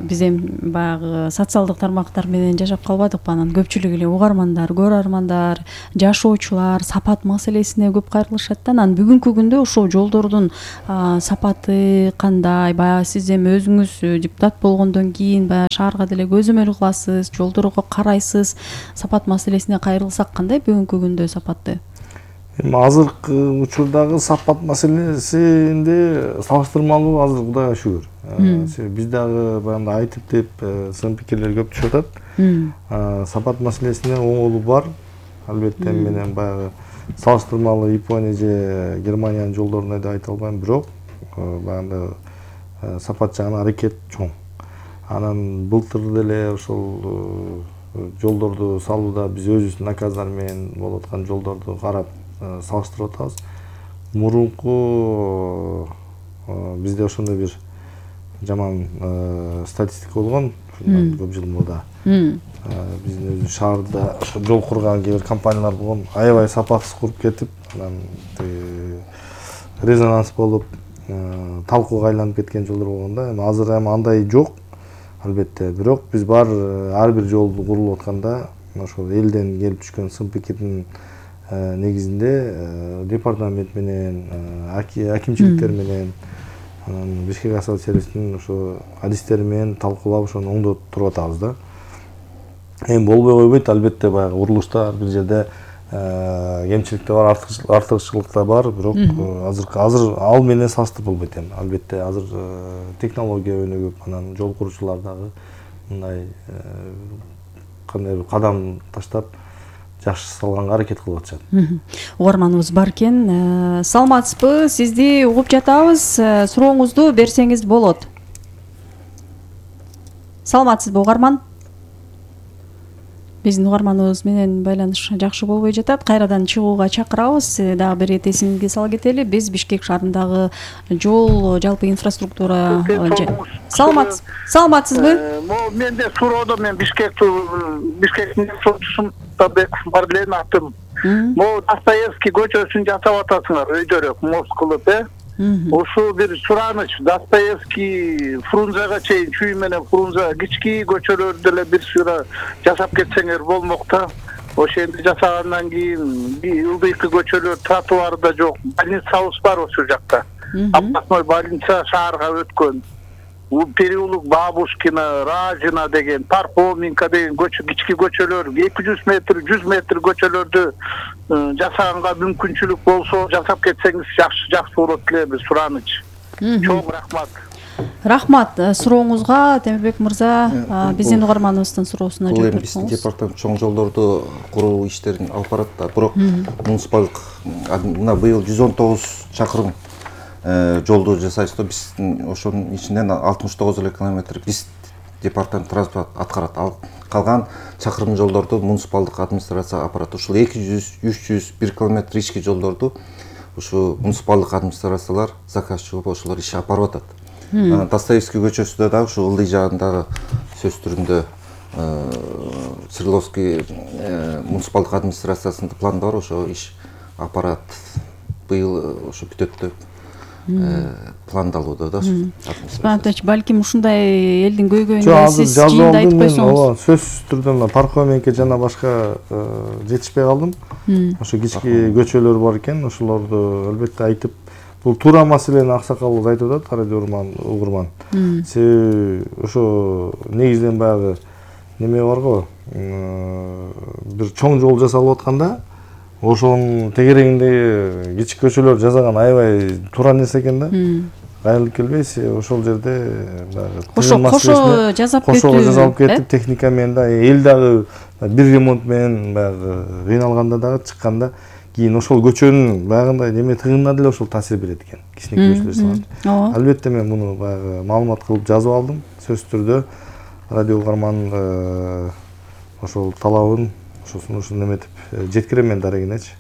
биз эми баягы социалдык тармактар менен жашап калбадыкпы, анан көпчүлүк эле угармандар, көрөрмандар, жашоочулар сапат маселесине көп кайрылышат да. Анан бүгүнкү күндө ошол жолдордун сапаты кандай? Баягы сиз эми өзүңүз депутат болгондон кийин баягы шаарга деле көзөмөл кыласыз, жолдорго карайсыз. Сапат маселесине кайрылсак кандай бүгүнкү күндө сапаты? Эми азыркы учурдагы сапат маселесинде салыштырмалуу азыр Кудайга шүгүр. Биз дагы баягы айтып деп сын пикирлер көп түшүп атат. Сапат маселесине оңолу бар. Албетте менен баягы салыштырмалуу Япония же Германиянын жолдоруна деп айта албайм, бирок баягы сапат жагынан аракет чоң. Анан былтыр деле ошол жолдорду салууда биз өзүбүздүн наказдар менен болуп аткан жолдорду карап салыштырып атабыз. Мурунку бизде ошондой бир жаман статистика болгон көп жыл мурда. Биздин өзү шаарда жол курган кээ бир компаниялар болгон, аябай сапатсыз куруп кетип, анан резонанс болуп, талкууга айланып кеткен жолдор болгон да. Эми азыр андай жок. Албетте, бирок биз ар бир жол курулуп атканда ошол элден келип түшкөн сын пикирдин негизинде департамент менен, акимчиликтер менен, Бишкек асфальт сервистин ошо адистери менен талкуулап ошону оңдоп туруп атабыз да. Эми болбой койбойт, албетте баягы курулушта ар бир жерде кемчиликтер бар, артыкчылыктар бар, бирок азыр ал менен салыштырып болбойт эми. Албетте азыр технология өнүгүп, анан жол курушулар дагы мындай кандай бир кадам таштап жакшы салганга аракет кылып атышат. Угарманыбыз бар экен. Саламатсызбы? Сизди угуп жатабыз. Сурооңузду берсеңиз болот. Саламатсызбы, угарман? Биздин угарманыбыз менен байланыш жакшы болбой жатат. Кайрадан чыгууга чакырабыз. Дагы бир ирет эсиңизге сала кетели. Биз Бишкек шаарындагы жол, жалпы инфраструктура. Саламатсызбы? Менде суроодо мен Бишкектин сотчусунда бар элем аттым. Могу Достоевский көчөсүн жасап атасыңар өйдөрөк мост кылып, Ушул бир сураныч. Достоевский Фрунзега чейин, чүй менен Фрунзе кички көчөлөрдү деле бир сыра жасап кетсеңер болмок да. Ошентип жасагандан кийин ылдыйкы көчөлөр, тротуар да жок. Больницабыз бар ошол жакта. Областной больница шаарга өткөн. Переулок Бабушкина, Ражина деген, Пархоменко деген кички көчөлөр, 200 метр, 100 метр көчөлөрдү жасаганга мүмкүнчүлүк болсо жасап кетсеңиз жакшы болот эле, сураныч. Чоң рахмат. Рахмат. Сурооңузга Темирбек мырза биздин угарманыбыздын суроосуна жооп берсеңиз. Биздин департамент чоң жолдорду куруу иштерин алып барат да, бирок муниципалдык мына быйыл 119 чакырым жолду жасайбыз да. Биздин ошонун ичинен 69 эле километр биз департамент транспорт аткарат. Ал калган чакырым жолдорду муниципалдык администрация апарат. Ушул 200-300 километр ички жолдорду ушу муниципалдык администрациялар заказчы болуп ошолор иш апарып атат. Достоевский көчөсүдө дагы ушу ылдый жагындагы сөз түрүндө Свердловский муниципалдык администрациясынын планда бар, ошо иш аппарат быйыл ошо бүтөт деп пландалууда да. Спантач, балким ушундай элдин көйгөйүнө сиз жыйында айтып койсоңуз. Сөзсүз түрдө Пархоменко жана башка жетишпей калдым. Ошо кички көчөлөр бар экен, ошолорду албетте айтып, бул туура маселени аксакалыбыз айтып атат, радио угурман. Себеби ошо негизинен баягы неме бар го, бир чоң жол жасалып атканда ошонун тегерегинде кички көчөлөр жасаган аябай туура нерсе экен да. Кайрылып келбейсиз, ошол жерде кошо жасалып кетип, техника менен да, эл дагы бир ремонт менен баягы кыйналганда дагы чыкканда кийин ошол көчөнүн баягындай неме тыгынына деле ошол таасир берет экен. Кичинекей көчөлөр салат. Албетте мен муну баягы маалымат кылып жазып алдым. Сөзсүз түрдө радио угарман ошол талабын ошону неметип жеткирем мен дарегинечи.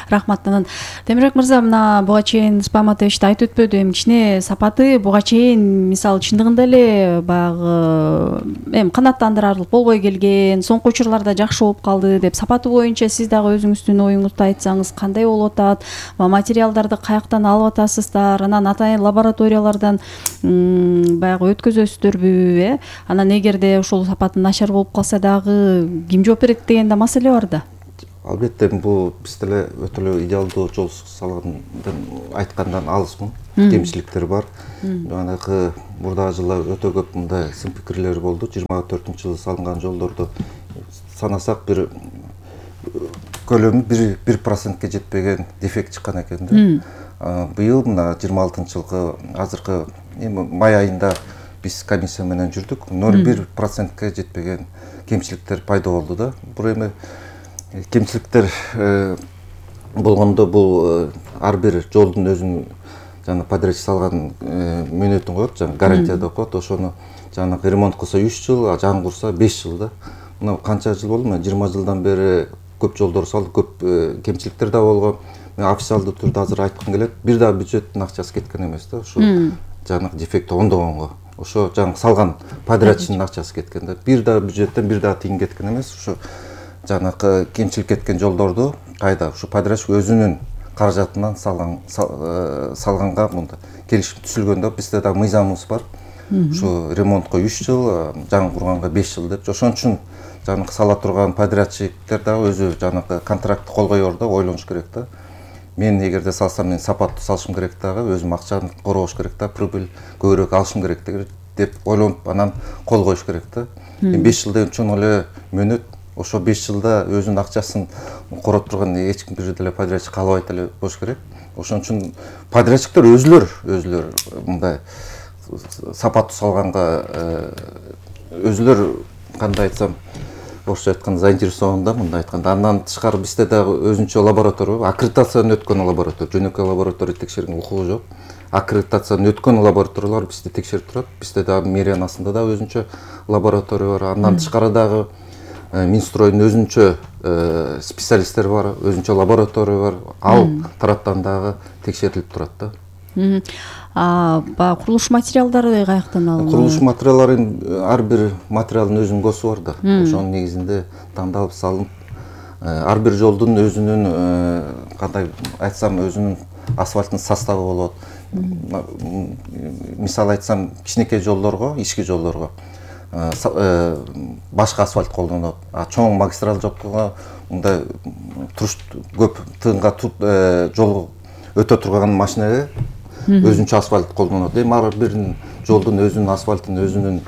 Рахмат. Анан Темирбек мырза, мына буга чейин Спам АТШте айтып өтпөдү, эми кичине сапаты буга чейин мисалы чындыгында эле баягы эми канааттандырарлык болбой келген, соңку учурларда жакшы болуп калды деп, сапаты боюнча сиз дагы өзүңүздүн оюңузду айтсаңыз кандай болуп атат? Материалдарды каяктан алып атасыздар? Анан атайын лабораториялардан баягы өткөзөсүздөрбү, Анан эгерде ошол сапаты начар болуп калса дагы ким жооп берет деген да маселе бар да. Албетте бул биз деле өтө эле идеалдуу жол салгандан айткандан алысмын. Кемчиликтер бар. Жанагы мурдагы жылы өтө көп мындай сын пикирлер болду. 24-жылы салынган жолдорду санасак бир көлөмү 1% жетпеген дефект чыккан экен да. Быйыл мына 26-жылкы азыркы май айында биз комиссия менен жүрдүк. 0,1%га жетпеген кемчиликтер пайда болду да. Бул эми кемчиликтер болгондо бул ар бир жолдун өзүнүн жана подрядчик салган мөөнөтүн коет, жана гарантия деп коет. Ошону жана ремонт кылса 3 жыл, жаңгырса 5 жыл да. Мына канча жыл болду? Мен 20 жылдан бери көп жолдор салдык, көп кемчиликтер да болгон. Мен официалдуу түрдө азыр айткым келет, бир да бюджеттин акчасы кеткен эмес да. Ошо жанагы дефекти оңдогонго. Ошо жаңы салган подрядчиктин акчасы кеткен да. Бир да бюджеттен бир да тыйын кеткен эмес. Ошо жанагы кемчилик кеткен жолдорду кайда ушу подрядчик өзүнүн каражатынан салганга мында келишим түзүлгөндө бизде да мыйзамыбыз бар. Ушу ремонтко 3 жыл, жаңгырганга 5 жыл деп. Ошон үчүн жанагы сала турган подрядчиктер дагы өзү жанагы контрактты кол коёр да, ойлонуш керек да. Мен эгерде салсам, мен сапаттуу салышым керек дагы, өзүм акчаны корош керек да, прибыль көбүрөөк алышым керек деп ойлонуп анан кол коюш керек да. 5 жыл деген чоң эле мөөнөт. Ошо 5 жылда өзүнүн акчасын короп турган эч ким бир деле подрядчик каалабайт эле болуш керек. Ошон үчүн подрядчиктер өзүлөр мындай сапаттуу салганга өзүлөр кандай айтсам, орусча айтканда заинтересован да, мындай айтканда. Андан тышкары бизде дагы өзүнчө лаборатория бар, аккредитациядан өткөн лаборатория, жөнөкөй лаборатория текшерген укугу жок. Аккредитациядан өткөн лабораториялар бизде текшерип турат. Бизде дагы мэриянын астында да өзүнчө лаборатория бар. Андан тышкары дагы Минстройдун өзүнчө специалисттер бар, өзүнчө лаборатория бар. Ал тараптан дагы текшерилип турат да. Баягы курулуш материалдары каяктан алынат? Курулуш материалдарын ар бир материалдын өзүнүн госу бар да. Ошонун негизинде тандалып салынып, ар бир жолдун өзүнүн кандай айтсам, өзүнүн асфальттын составы болот. Мисалы айтсам, кичинекей жолдорго, ички жолдорго башка асфальт колдонулат. Чоң магистраль жолго мындай туруш көп тыынга жол өтө турган машинеге өзүнчө асфальт колдонулат. Эми ар бир жолдун өзүнүн асфальтын, өзүнүн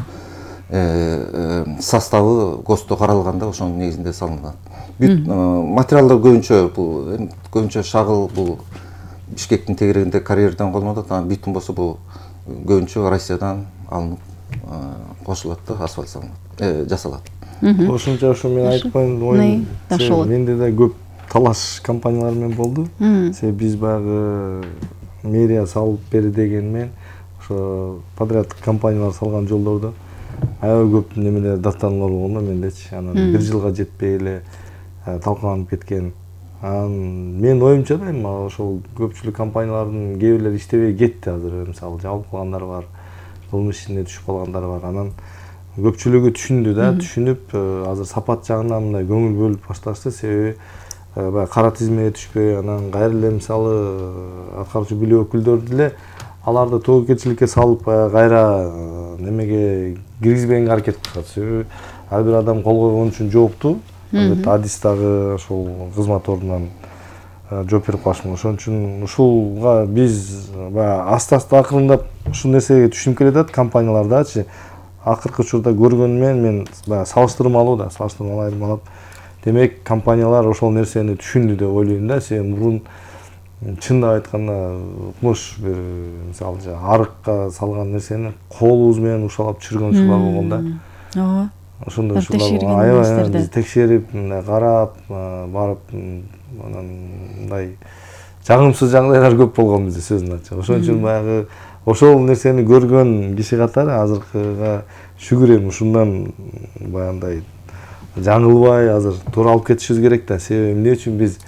составы ГОСТо каралганда ошонун негизинде салынат. Материалдар көбүнчө шагыл бул Бишкектин тегерегинде карьерден колдонулат. Анан битум болсо бул көбүнчө Россиядан алынып кошулат да, асфальт салынат, жасалат. Ошончо ошо мен айтып коеюн, оюн менде да көп талаш компаниялар менен болду. Себеби биз баягы мэрия салып бери деген менен ошо подряд компаниялар салган жолдордо аябай көп немелер даттануулар болгон да мендечи. Анан 1 жылга жетпей эле талкаланып кеткен. Мен оюмча да эми ошол көпчүлүк компаниялардын кээ бирлери иштебей кетти азыр. Мисалы жабылып калгандар бар, кылмыш ишине түшүп калгандар бар. Анан көпчүлүгү түшүндү да, түшүнүп азыр сапат жагынан мындай көңүл бөлүп башташты. Себеби баягы кара тизмеге түшпөй, анан кайра эле мисалы аткаруучу бийлик өкүлдөрү деле аларды тоокерчиликке салып кайра немеге киргизбегенге аракет кылышат. Себеби ар бир адам кол койгон үчүн жооптуу. Албетте адис дагы ошол кызмат ордунан жооп берип калышмак. Ошон үчүн ушулга биз баягы аста-аста акырындап ушул нерсеге түшүнүп келатат компаниялардачы. Акыркы учурда көргөнүм мен баягы салыштырмалуу айырмалап. Демек, компаниялар ошол нерсени түшүндү деп ойлойм да. Себеби мурун чындап айтканда укмуш бир мисалы арыкка салган нерсени колубуз менен ушалап түшүргөн учурлар болгон да. Ооба. Ошондой учурлар аябай биз текшерип, мындай карап, барып анан мындай жагымсыз жагдайлар көп болгон бизде, сөзүн ачык. Ошон үчүн баягы ошол нерсени көргөн киши катары азыркыга шүгүр эми ушундан баягындай жаңылбай азыр туура алып кетишибиз керек да. Себеби эмне үчүн биз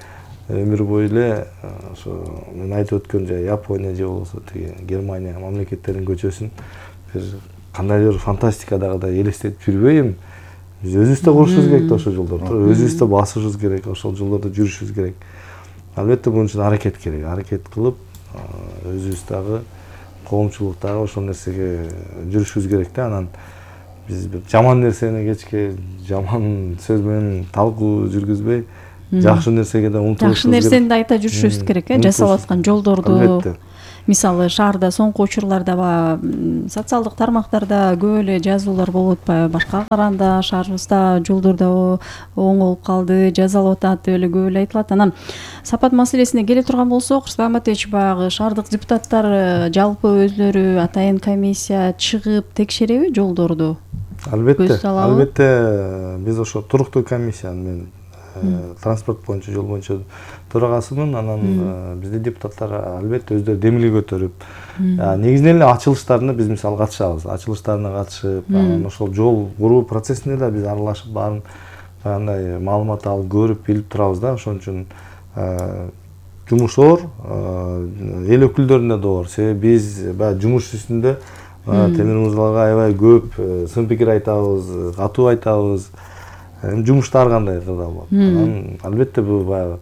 өмүр бою эле ошо мен айтып өткөн же Япония же болбосо тиги Германия мамлекеттеринин көчөсүн бир кандайдыр фантастикадагыдай элестетип жүрбөйм. Биз өзүбүз да курушубуз керек да ошол жолдорду. Өзүбүз да басышыбыз керек, ошол жолдордо жүрүшүбүз керек. Албетте бунун үчүн аракет керек. Аракет кылып, өзүбүз дагы коомчулуктагы ошол нерсеге жүрүшүбүз керек да. Анан биз бир жаман нерсени кечке жаман сөз менен талкуу жүргүзбөй, жакшы нерсеге да умтулушубуз керек. Жакшы нерсени да айта жүрүшүбүз керек, жасалып аткан жолдорду. Мисалы шаарда соңку учурларда социалдык тармактарда көп эле жазуулар болуп атпайбы, башка караганда шаарыбызда жолдордо оңолуп калды, жазалып атат деп эле көп эле айтылат. Анан сапат маселесине келе турган болсок, Рустам Ахматович, баягы шаардык депутаттар жалпы өзлөрү атайын комиссия чыгып текшереби жолдорду? Албетте биз ошо туруктуу комиссиянын мен транспорт боюнча, жол боюнча төрагасымын. Анан бизде депутаттар албетте өздөрү демилге көтөрүп, негизинен эле ачылыштарына биз мисалы катышабыз. Ачылыштарына катышып, анан ошол жол куруу процессине да биз аралашып, баарын баягындай маалымат алып, көрүп, билип турабыз да. Ошон үчүн жумуш оор, эл өкүлдөрүнө да оор. Себеби биз баягы жумуш үстүндө темир мырзаларга аябай көп сын пикир айтабыз, катуу айтабыз. Жумушта ар кандай кырдаал болот. Анан албетте бул баягы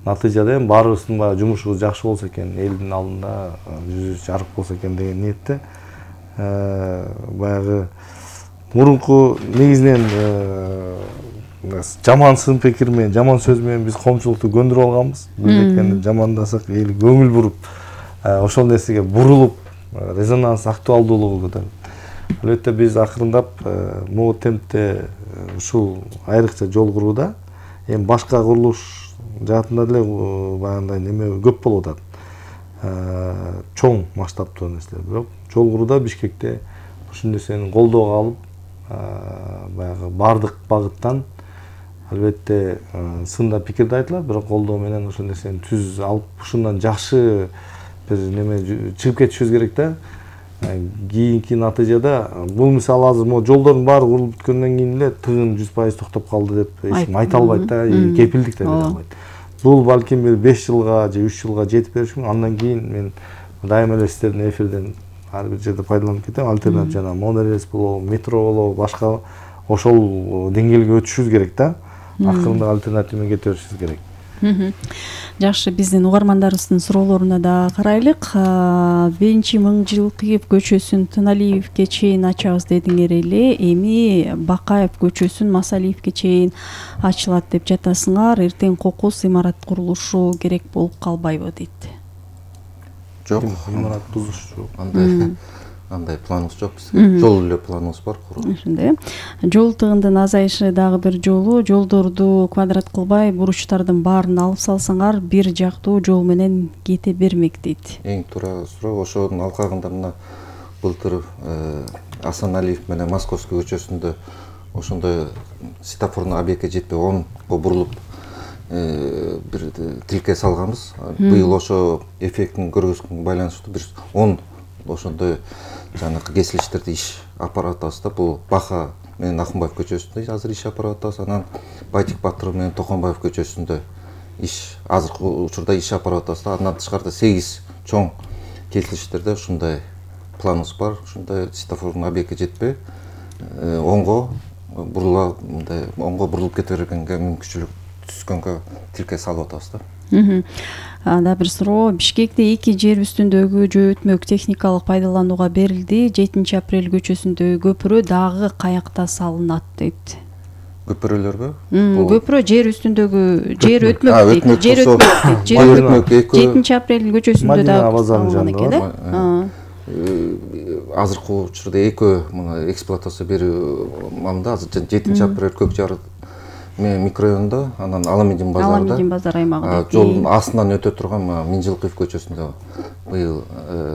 натыйжада эми баарыбыздын баягы жумушубуз жакшы болсо экен, элдин алдында жүзүбүз жарык болсо экен деген ниетте баягы мурунку негизинен жаман сын пикир менен, жаман сөз менен биз коомчулукту көндүрүп алганбыз. Бул жамандасак эл көңүл буруп, ошол нерсеге бурулуп, резонанс актуалдуулугу көтөрүлөт. Албетте биз акырындап могу темпте ушул айрыкча жол курууда эми башка курулуш жаатында деле баягындай неме көп болуп атат. Чоң масштабтуу нерселер. Бирок жол курууда Бишкекте ушул нерсени колдоого алып, баягы бардык багыттан албетте сында пикир да айтылат, бирок колдоо менен ошол нерсени түз алып, ушундан жакшы бир неме чыгып кетишибиз керек да. Кийинки натыйжада бул мисалы азыр могу жолдордун баары курулуп бүткөндөн кийин эле тыгын 100% токтоп калды деп эч ким айта албайт да, кепилдик да бере албайт. Бул балким бир 5 жылга же 3 жылга жетип бериши мүмкүн. Андан кийин мен дайыма эле сиздердин эфирден ар бир жерде пайдаланып кетем. Альтернатив жана монорельс болобу, метро болобу, башка ошол деңгээлге өтүшүбүз керек да. Акырында альтернатив менен кете беришибиз керек. Жакшы, биздин угармандарыбыздын суроолоруна да карайлык. 1-Мыңжылкыев көчөсүн Тыналиевке чейин ачабыз дедиңер эле, эми Бакаев көчөсүн Масалиевке чейин ачылат деп жатасыңар. Эртең кокус имарат курулушу керек болуп калбайбы дейт. Жок, имарат бузуш жок. Андай планыбыз жок бизге. Жол эле планыбыз бар куруу. Ошондой. Жол тыгындын азайышы дагы бир жолу. Жолдорду квадрат кылбай, буручтардын баарын алып салсаңар, бир жактуу жол менен кете бермек дейт. Эң туура суроо. Ошонун алкагында мына былтыр Асаналиев менен Московский көчөсүндө ошондой светофордун объектке жетпей 10го бурулуп бир тилке салганбыз. Быйыл ошо эффектин көргөзгөнгө байланыштуу бир 10 ошондой жанакы кесилиштерди иш апарып атабыз да. Бул Баха менен Акынбаев көчөсүндө азыр иш апарып атабыз. Анан Байтик Батыров менен Токонбаев көчөсүндө иш азыркы учурда иш апарып атабыз да. Андан тышкарыда 8 чоң кесилиштерде ушундай планыбыз бар. Ушундай светофордун объектке жетпей оңго бурула, мындай оңго бурулуп кете бергенге мүмкүнчүлүк түзгөнгө тилке салып атабыз да. Анда бир суроо. Бишкекте 2 жер үстүндөгү жөө өтмөк техникалык пайдаланууга берилди. 7 апрель көчөсүндөгү көпүрө дагы каякта салынат дейт. Көпүрөлөргө? Көпүрө жер үстүндөгү жер өтмөк дейт. Жер өтмөк. 7 апрель көчөсүндө дагы салынган экен да. Азыркы учурда экөө мына эксплуатация берүү маалында азыр 7 апрель көк жар микрорайонунда, анан Аламедин базарында, Аламедин базар аймагында жолдун астынан өтө турган Мыңжылкыев көчөсүндө быйыл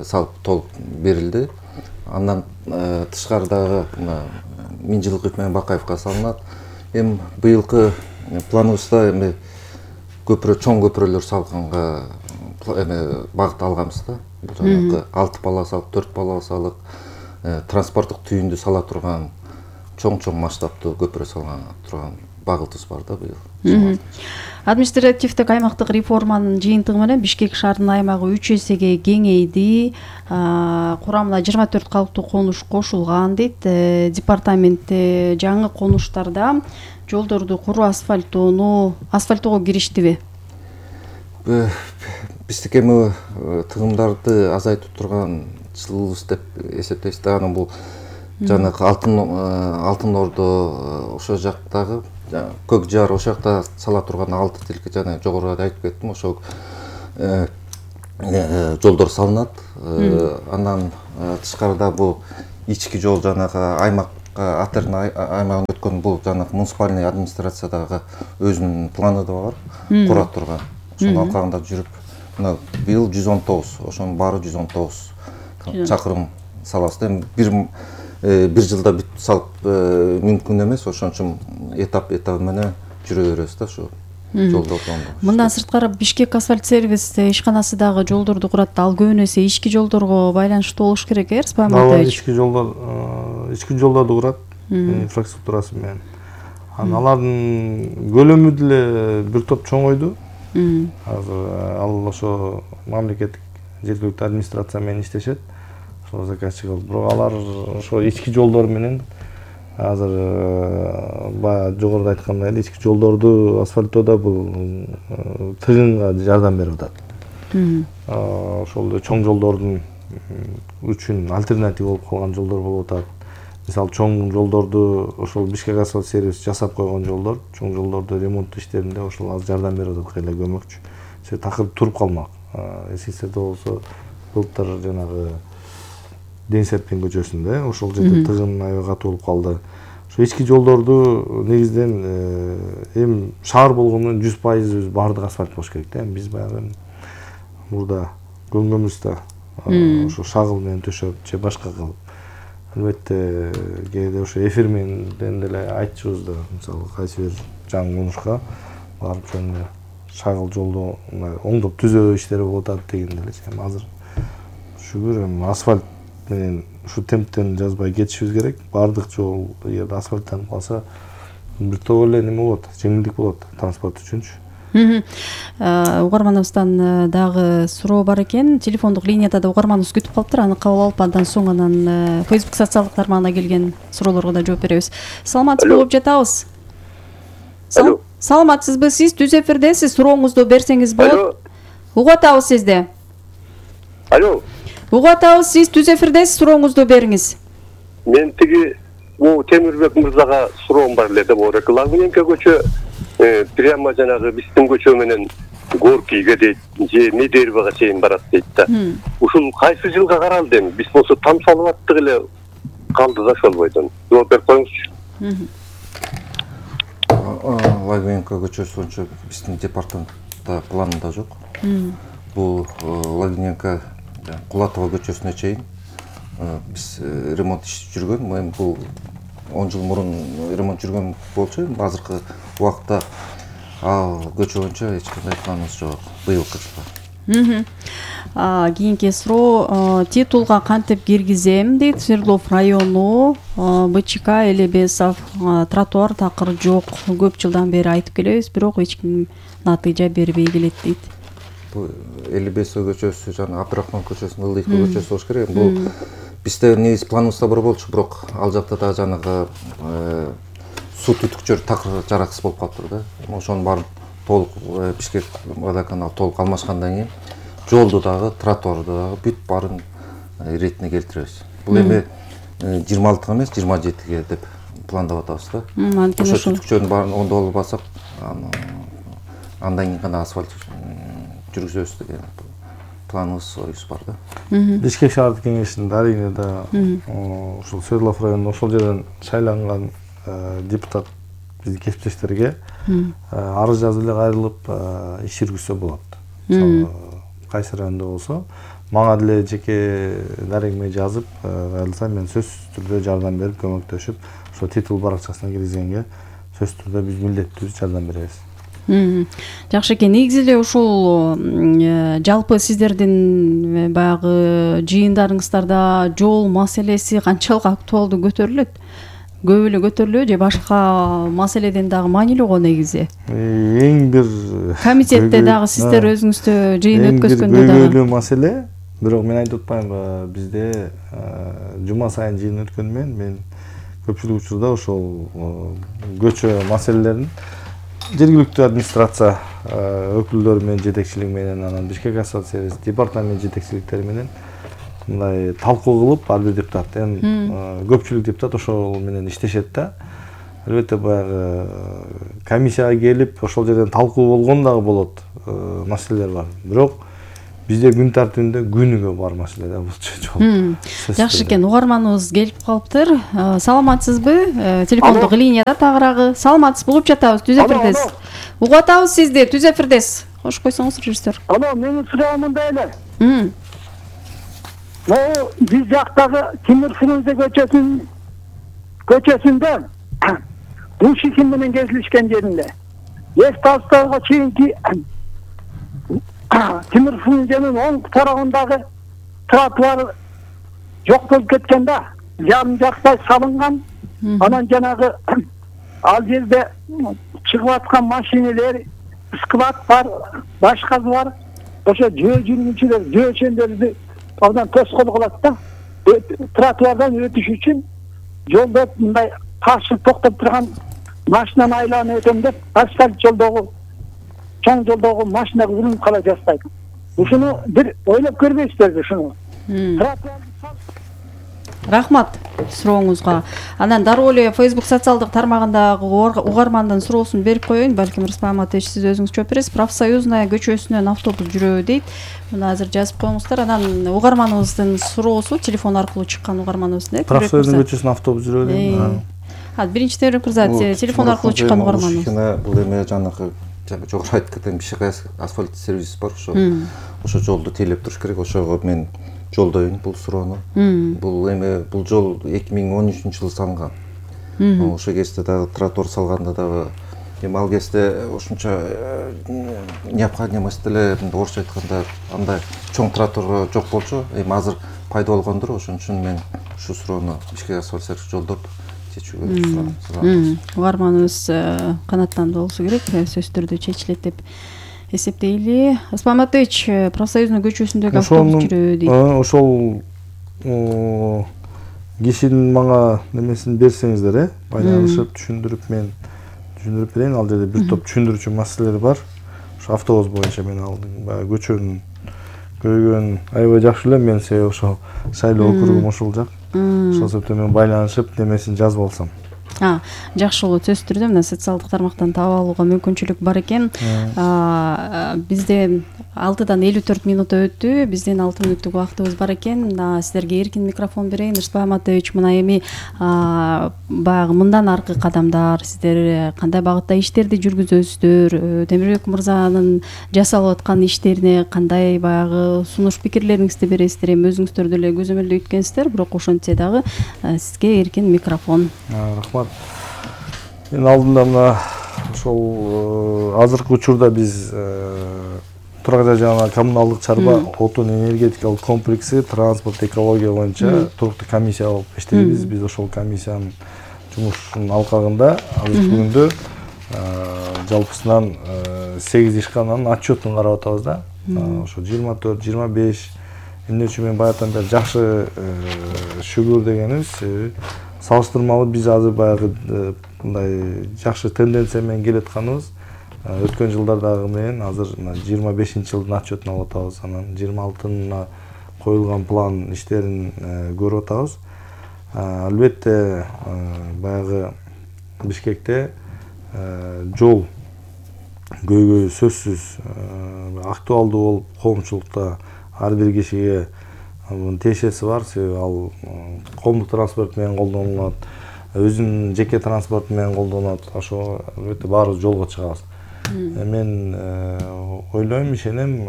салып толуп берилди. Андан тышкарыдагы Мыңжылкыев менен Бакаевка салынат. Эми быйылкы планыбызда эми көпүрө, чоң көпүрөлөр салганга багыт алганбыз да. Жанагы 6 полосалык, 4 полосалык транспорттук түйүндү сала турган чоң масштабтуу көпүрө салган турган багытыбыз бар да быйыл. Административдик аймактык реформанын жыйынтыгы менен Бишкек шаарынын аймагы 3 эсеге кеңейди. Курамына 24 калктуу конуш кошулган дейт. Департаментте жаңы конуштарда жолдорду куруу асфальттоого кириштиби? Биздики эми тыгымдарды азайтып турган жылыбыз деп эсептейбиз да. Анан бул жанагы Алтын Ордо ошол жактагы Көк Жар ошол жакта сала турган 6 тилке жана жогоруда айтып кеттим, ошол жолдор салынат. Андан тышкарыда бул ички жол жанагы аймакка Атерна аймагын өткөн бул жанагы муниципальный администрациядагы өзүнүн планы да бар, кура турган. Ошонун алкагында жүрүп, мына быйыл 119, ошонун баары 119 чакырым салабыз. Эми бир жылда бүт салып мүмкүн эмес, ошон үчүн этап менен жүрө беребиз да ошо жолдордон. Мындан сырткары Бишкек асфальт сервис ишканасы дагы жолдорду курат. Ал көбүн эсе ички жолдорго байланыштуу болуш керек, Рыспай Маматович? Ички жолдорду курат инфраструктурасы менен. Алардын көлөмү деле бир топ чоңойду. Азыр ал ошо мамлекеттик жергиликтүү администрация менен иштешет. Ошол заказчик кылып, бирок алар ошо ички жолдор менен азыр баягы жогоруда айткандай эле ички жолдорду асфальттоодо бул тыгынга жардам берип атат. Ошол чоң жолдордун үчүн альтернатива болуп калган жолдор болуп атат. Мисалы чоң жолдорду ошол Бишкек асфальт сервис жасап койгон жолдор, чоң жолдорду ремонт иштеринде ошол азыр жардам берип атат, кайла көмөкчү. Такыр туруп калмак. Эсиңизде болсо былтыр жанагы Ден Серпин көчөсүндө ошол жерде тыгын аябай катуу болуп калды. Ошо ички жолдорду негизден эми шаар болгондон 100% баардык асфальт болуш керек да. Биз баягы мурда көңгөмүздө ошо шагыл менен төшөп же башка кылып. Албетте кээде ошо эфир менен деле айтчубуз да, мисалы кайсы бир жаңы конушка барып жөн шагыл жолду оңдоп түзөө иштери болуп атат деген деле. Эми азыр шүгүр эми асфальт менен ушу темптен жазбай кетишибиз керек. Баардык жол эгер асфальттанып калса бир топ эле неме болот, жеңилдик болот транспорт үчүнчү. Угарманыбыздан дагы суроо бар экен. Телефондук линияда да угарманыбыз күтүп калыптыр. Аны кабыл алып, андан соң анан Facebook социалдык тармагына келген суроолорго да жооп беребиз. Саламатсыз болуп жатабыз. Саламатсызбы? Сиз түз эфирдесиз. Сурооңузду берсеңиз болот. Угуп атабыз сизди. Алло. Угуп атабыз, сиз түз эфирдесиз. Сурооңузду бериңиз. Мен тиги Темирбек мырзага суроом бар эле деп оор. Лагуненко көчө прямо жанагы биздин көчө менен Горкийге дейт, же Медербага чейин барат дейт да. Ушул кайсы жылга каралды эми? Биз болсо там салып аттык эле калды да ошол бойдон. Жооп берип коюңузчу. Лагуненко көчөсү боюнча биздин департаментте планында жок. Бул Лагуненко Кулатова көчөсүнө чейин биз ремонт иши жүргөн. Эми бул 10 жыл мурун ремонт жүргөн болчу. Азыркы убакта ал көчө боюнча эч кандай планыбыз жок. Быйылкы жылга. Кийинки суроо, титулга кантип киргизем дейт. Свердлов району БЧК Элебесов тротуар такыр жок. Көп жылдан бери айтып келебиз, бирок эч ким натыйжа бербей келет дейт. Бул Элебесов көчөсү жана Абдрахман көчөсүнүн ылдыйкы көчөсү болуш керек. Бул бизде негизи планыбызда бар болчу, бирок ал жакта да жанагы суу түтүкчөр такыр жараксыз болуп калыптыр да. Ошонун баарын толук Бишкек водоканал толук алмашкандан кийин жолду дагы, тротуарды дагы бүт баарын иретине келтиребиз. Бул эми 26 эмес, 27-ге деп пландап атабыз да. Ошо түтүкчөрдүн баарын оңдоп алсак, андан кийин гана асфальт жүргүзөбүз деген планыбыз, оюбуз бар да. Бишкек шаардык кеңешинде арийне да ушул Свердлов районунун ошол жерден шайланган депутат биздин кесиптештерге арыз жазып эле кайрылып иш жүргүзсө болот. Мисалы кайсы райондо болсо мага деле жеке дарегиме жазып кайрылса, мен сөзсүз түрдө жардам берип, көмөктөшүп, ошо титул баракчасына киргизгенге сөзсүз түрдө биз милдеттүү жардам беребиз. Жакшы экен. Негизи эле ушул жалпы сиздердин баягы жыйындарыңыздарда жол маселеси канчалык актуалдуу көтөрүлөт? көп эле көтөрүлөбү же башка маселеден дагы маанилүү го негизи? Эң бир Комитетте дагы сиздер өзүңүздө жыйын өткөзгөндө дагы көйгөйлүү маселе, бирок мен айтып атпаймынбы, бизде жума сайын жыйын өткөнү менен мен көпчүлүк учурда ошол көчө маселелерин жергиликтүү администрация өкүлдөрү менен, жетекчилиги менен, анан Бишкек асфальт сервис департамент жетекчиликтери менен мындай талкуу кылып, ар бир депутат, көпчүлүк депутат ошол менен иштешет да. Албетте баягы комиссияга келип, ошол жерден талкуу болгон дагы болот, маселелер бар. Бирок бизде күн тартибинде күнүгө бар маселе да бул жол. Жакшы экен, угарманыбыз келип калыптыр. Саламатсызбы? Телефондук линияда тагыраагы. Саламатсызбы? Угуп жатабыз, Түз эфирдес. Угуп атабыз сизди, Түз эфирдес. Кош койсоңуз, режиссер. Алло, менин суроом мындай эле. Биз жактагы Тимир Фрунзе көчөсүндө Бушикин менен кезилишкен жеринде Лев Толстойго чейинки Тимир Фрунзенин оң тарабындагы тротуар жок болуп кеткен да, жарым жактай салынган. Анан жанагы ал жерде чыгып аткан машиналар, склад бар, башкасы бар. Ошо жөө жүргүнчүлөр, жөөчөндөрдү абдан тоскоол кылат да. Тротуардан өтүш үчүн жолдо мындай каршы токтоп турган машинаны айланып өтөм деп, асфальт жолдогу, чоң жолдогу машинага урунуп кала жаздайт. Ушуну бир ойлоп көрбөйсүзбү ушуну? Рахмат сурооңузга. Анан дароо эле Facebook социалдык тармагындагы угармандын суроосун берип коеюн. Балким Рыспай Аматович, сиз өзүңүз жооп бересиз. Профсоюзная көчөсүнөн автобус жүрөбү дейт. Муну азыр жазып коюңуздар. Анан угарманыбыздын суроосу телефон аркылуу чыккан угарманыбыздын. Профсоюздун көчөсүнөн автобус жүрөбү дейм. Биринчи Темирбек мырза, телефон аркылуу чыккан угарманыбыз. Бул эме жанагы жогору айтып кеткен Бишкек асфальт сервис бар, ошо жолду тейлеп туруш керек. Ошого мен жолдойм бул суроону. Бул жол 2013-жылы салынган. Ошо кезде дагы тротуар салганда дагы ал кезде ошончо необходимость деле, орусча айтканда андай чоң тротуар жок болчу. Азыр пайда болгондур, ошон үчүн мен ушу суроону Бишкек асфальт сервис жолдоп чечүүгө сурам. Угарманыбыз канаттандуу болсо керек, сөзсүз түрдө чечилет деп эсептейли. Рыспай Аматович, профсоюзный көчөсүндөгү автобус жүрөбү дейт. Ошол кишинин мага немесин берсеңиздер, байланышып түшүндүрүп, мен түшүндүрүп берейин. Ал жерде бир топ түшүндүрүүчү маселелер бар. Ошо автобус боюнча мен алдым. Баягы көчөнүн көйгөйүн аябай жакшы элем, мен себеби ошо шайлоо округум ошол жак. Ошол себептен мен байланышып немесин жазып алсам. Жакшы болот, сөзсүз түрдө мына социалдык тармактан таап алууга мүмкүнчүлүк бар экен. Бизде 6-дан 54 минута өттү. Биздин 6 мүнөттүк убактыбыз бар экен. Сиздерге эркин микрофон берейин. Рыспай Аматович, мына эми баягы мындан аркы кадамдар, сиздер кандай багытта иштерди жүргүзөсүздөр? Темирбек мырзанын жасалып аткан иштерине кандай баягы сунуш пикирлериңизди бересиздер? Эми өзүңүздөр деле көзөмөлдөй өткөнсүздөр, бирок ошентсе дагы сизге эркин микрофон. Рахмат. Мен алдында мына ошол азыркы учурда биз Турак жай жана коммуналдык чарба отун энергетикалык комплекси транспорт экология боюнча туруктуу комиссия болуп иштейбиз. Биз ошол комиссиянын жумушунун алкагында азыркы күндө жалпысынан 8 ишкананын отчетун карап атабыз да. Ошо 24-25 эмне үчүн мен баягыдан бери жакшы шүгүр дегенибиз, салыштырмалуу биз азыр баягы мындай жакшы тенденция менен келатканыбыз. Өткөн жылдардагы менен азыр 25-жылдын отчетун алып атабыз. Анан 26-на коюлган план иштерин көрүп атабыз. Албетте баягы Бишкекте жол көйгөйү сөзсүз актуалдуу болуп, коомчулукта ар бир кишиге тиешеси бар. Себеби ал коомдук транспорт менен колдонулат, өзүнүн жеке транспорту менен колдонот. Ошо албетте баарыбыз жолго чыгабыз. Мен ойлойм, ишенем,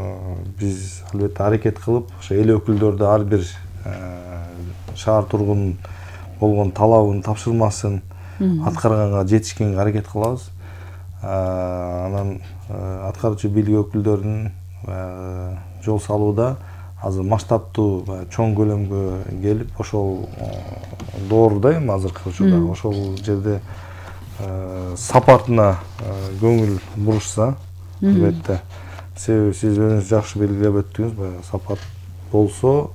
биз албетте аракет кылып, ошо эл өкүлдөрдү ар бир шаар тургунунун болгон талабын, тапшырмасын аткарганга жетишкенге аракет кылабыз. Анан аткаруучу бийлик өкүлдөрүнүн жол салууда азыр масштабтуу чоң көлөмгө келип ошол дооруда эми азыркы учурда ошол жерде сапатына көңүл бурушса, албетте себеби сиз өзүңүз жакшы белгилеп өттүңүз, баягы сапат болсо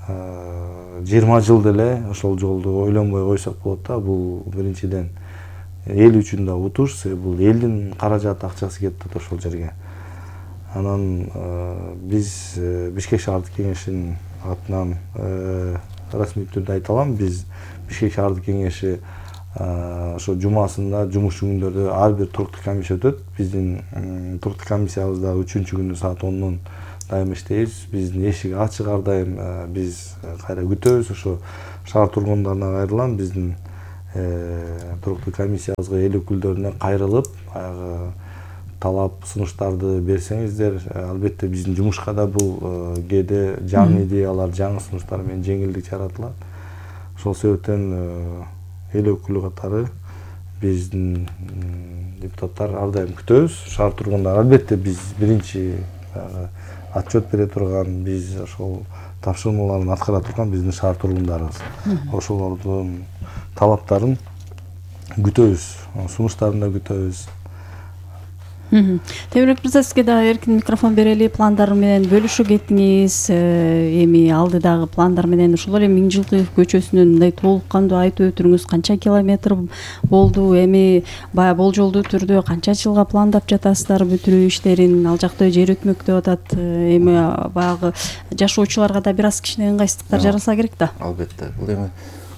20 жыл деле ошол жолду ойлонбой койсок болот да. Бул биринчиден эл үчүн да утуш, себеби бул элдин каражаты, акчасы кетип атат ошол жерге. Анан биз Бишкек шаардык кеңешинин атынан расмий түрдө айта алам, биз Бишкек шаардык кеңеши ошо жумасында жумуш күндөрдө ар бир туруктук комиссия өтөт. Биздин туруктук комиссиябыз да 3-күнү саат 10дон дайым иштейбиз. Биздин эшик ачык ар дайым. Биз кайра күтөбүз. Ошо шаар тургундарына кайрылам, биздин туруктук комиссиябызга эл өкүлдөрүнө кайрылып, баягы талап сунуштарды берсеңиздер, албетте биздин жумушка да бул кээде жаңы идеялар, жаңы сунуштар менен жеңилдик жаратылат. Ошол себептен эл өкүлү катары биздин депутаттар ар дайым күтөбүз. Шаар тургундары албетте биз биринчи отчет бере турган, биз ошол тапшырмаларын аткара турган биздин шаар тургундарыбыз. Ошолордун талаптарын күтөбүз, сунуштарын да күтөбүз. Темирбек мырза, сизге дагы эркин микрофон берели. Пландар менен бөлүшүп кеттиңиз. Эми алдыдагы пландар менен ушул эле Миңжилкы көчөсүнүн мындай толук кандуу айтып өтүңүз. Канча километр болду? Эми баягы болжолдуу түрдө канча жылга пландап жатасыздар бүтүрүү иштерин? Ал жакта жер өтмөктөп атат. Эми баягы жашоочуларга да бир аз кичине ыңгайсыздыктар жаралса керек да. Албетте. Бул эми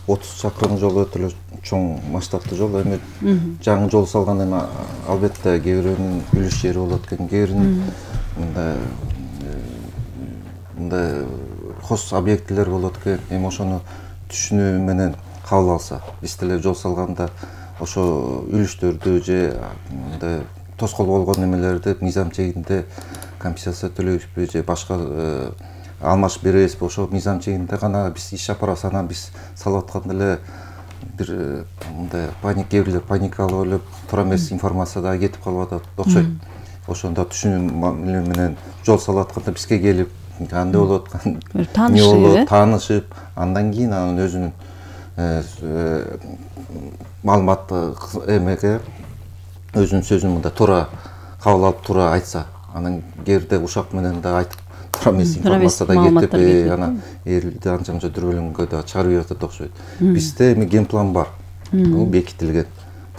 30 чакырым жол өтө эле чоң масштабтуу жол. Эми жаңы жол салганда эми албетте кээ бирөөнүн үлүш жери болот экен, кээ биринин мындай хос объектилер болот экен. Эми ошону түшүнүү менен кабыл алса, биз деле жол салганда ошо үлүштөрдү же мындай тоскоол болгон немелерди мыйзам чегинде компенсация төлөйбүзбү же башка алмашып беребизби, ошо мыйзам чегинде гана биз иш апарабыз. Анан биз салып атканда эле бир мындай кээ бирлер паникалып өлүп туура эмес информация дагы кетип калып атат окшойт. Ошондо түшүнүү менен жол салып атканда бизге келип кандай болот, таанышып, андан кийин анын өзүнүн маалыматты эмеге өзүнүн сөзүн мындай туура кабыл алып туура айтса, анан кээ бирде ушак менен да айтып туура эмес информация да кетип, анан элди анча мынча дүрбөлөңгө да чыгарып берип атат окшойт. Бизде эми генплан бар, бул бекитилген.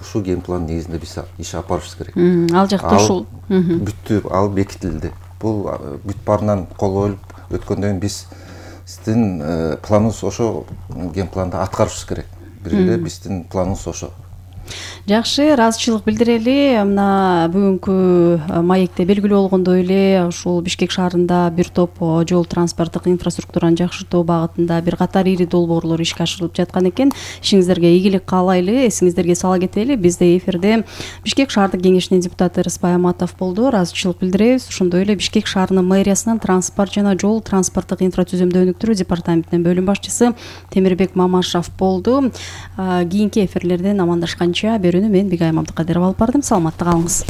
Ушул генплан негизинде биз иш алып барышыбыз керек. Ал жакта ушул бүттү, ал бекитилди. Бул бүт баарынан кол коюлуп өткөндөн кийин биздин планыбыз ошо генпланда аткарышыбыз керек. Бир эле биздин планыбыз ошо. Жакшы, ыраазычылык билдирели. Мына бүгүнкү маекте белгилүү болгондой эле ушул Бишкек шаарында бир топ жол транспорттук инфраструктураны жакшыртуу багытында бир катар ири долбоорлор ишке ашырылып жаткан экен. Ишиңиздерге ийгилик каалайлы. Эсиңиздерге сала кетели, бизде эфирде Бишкек шаардык кеңешинин депутаты Рыспай Аматов болду. Ыраазычылык билдиребиз. Ошондой эле Бишкек шаарынын мэриясынын транспорт жана жол транспорттук инфратүзүмдү өнүктүрүү департаментинин бөлүм башчысы Темирбек Мамашев болду. Кийинки эфирлерден амандашканча берүүнү мен Бигайым Абдыкадырова алып бардым. Саламатта калыңыз.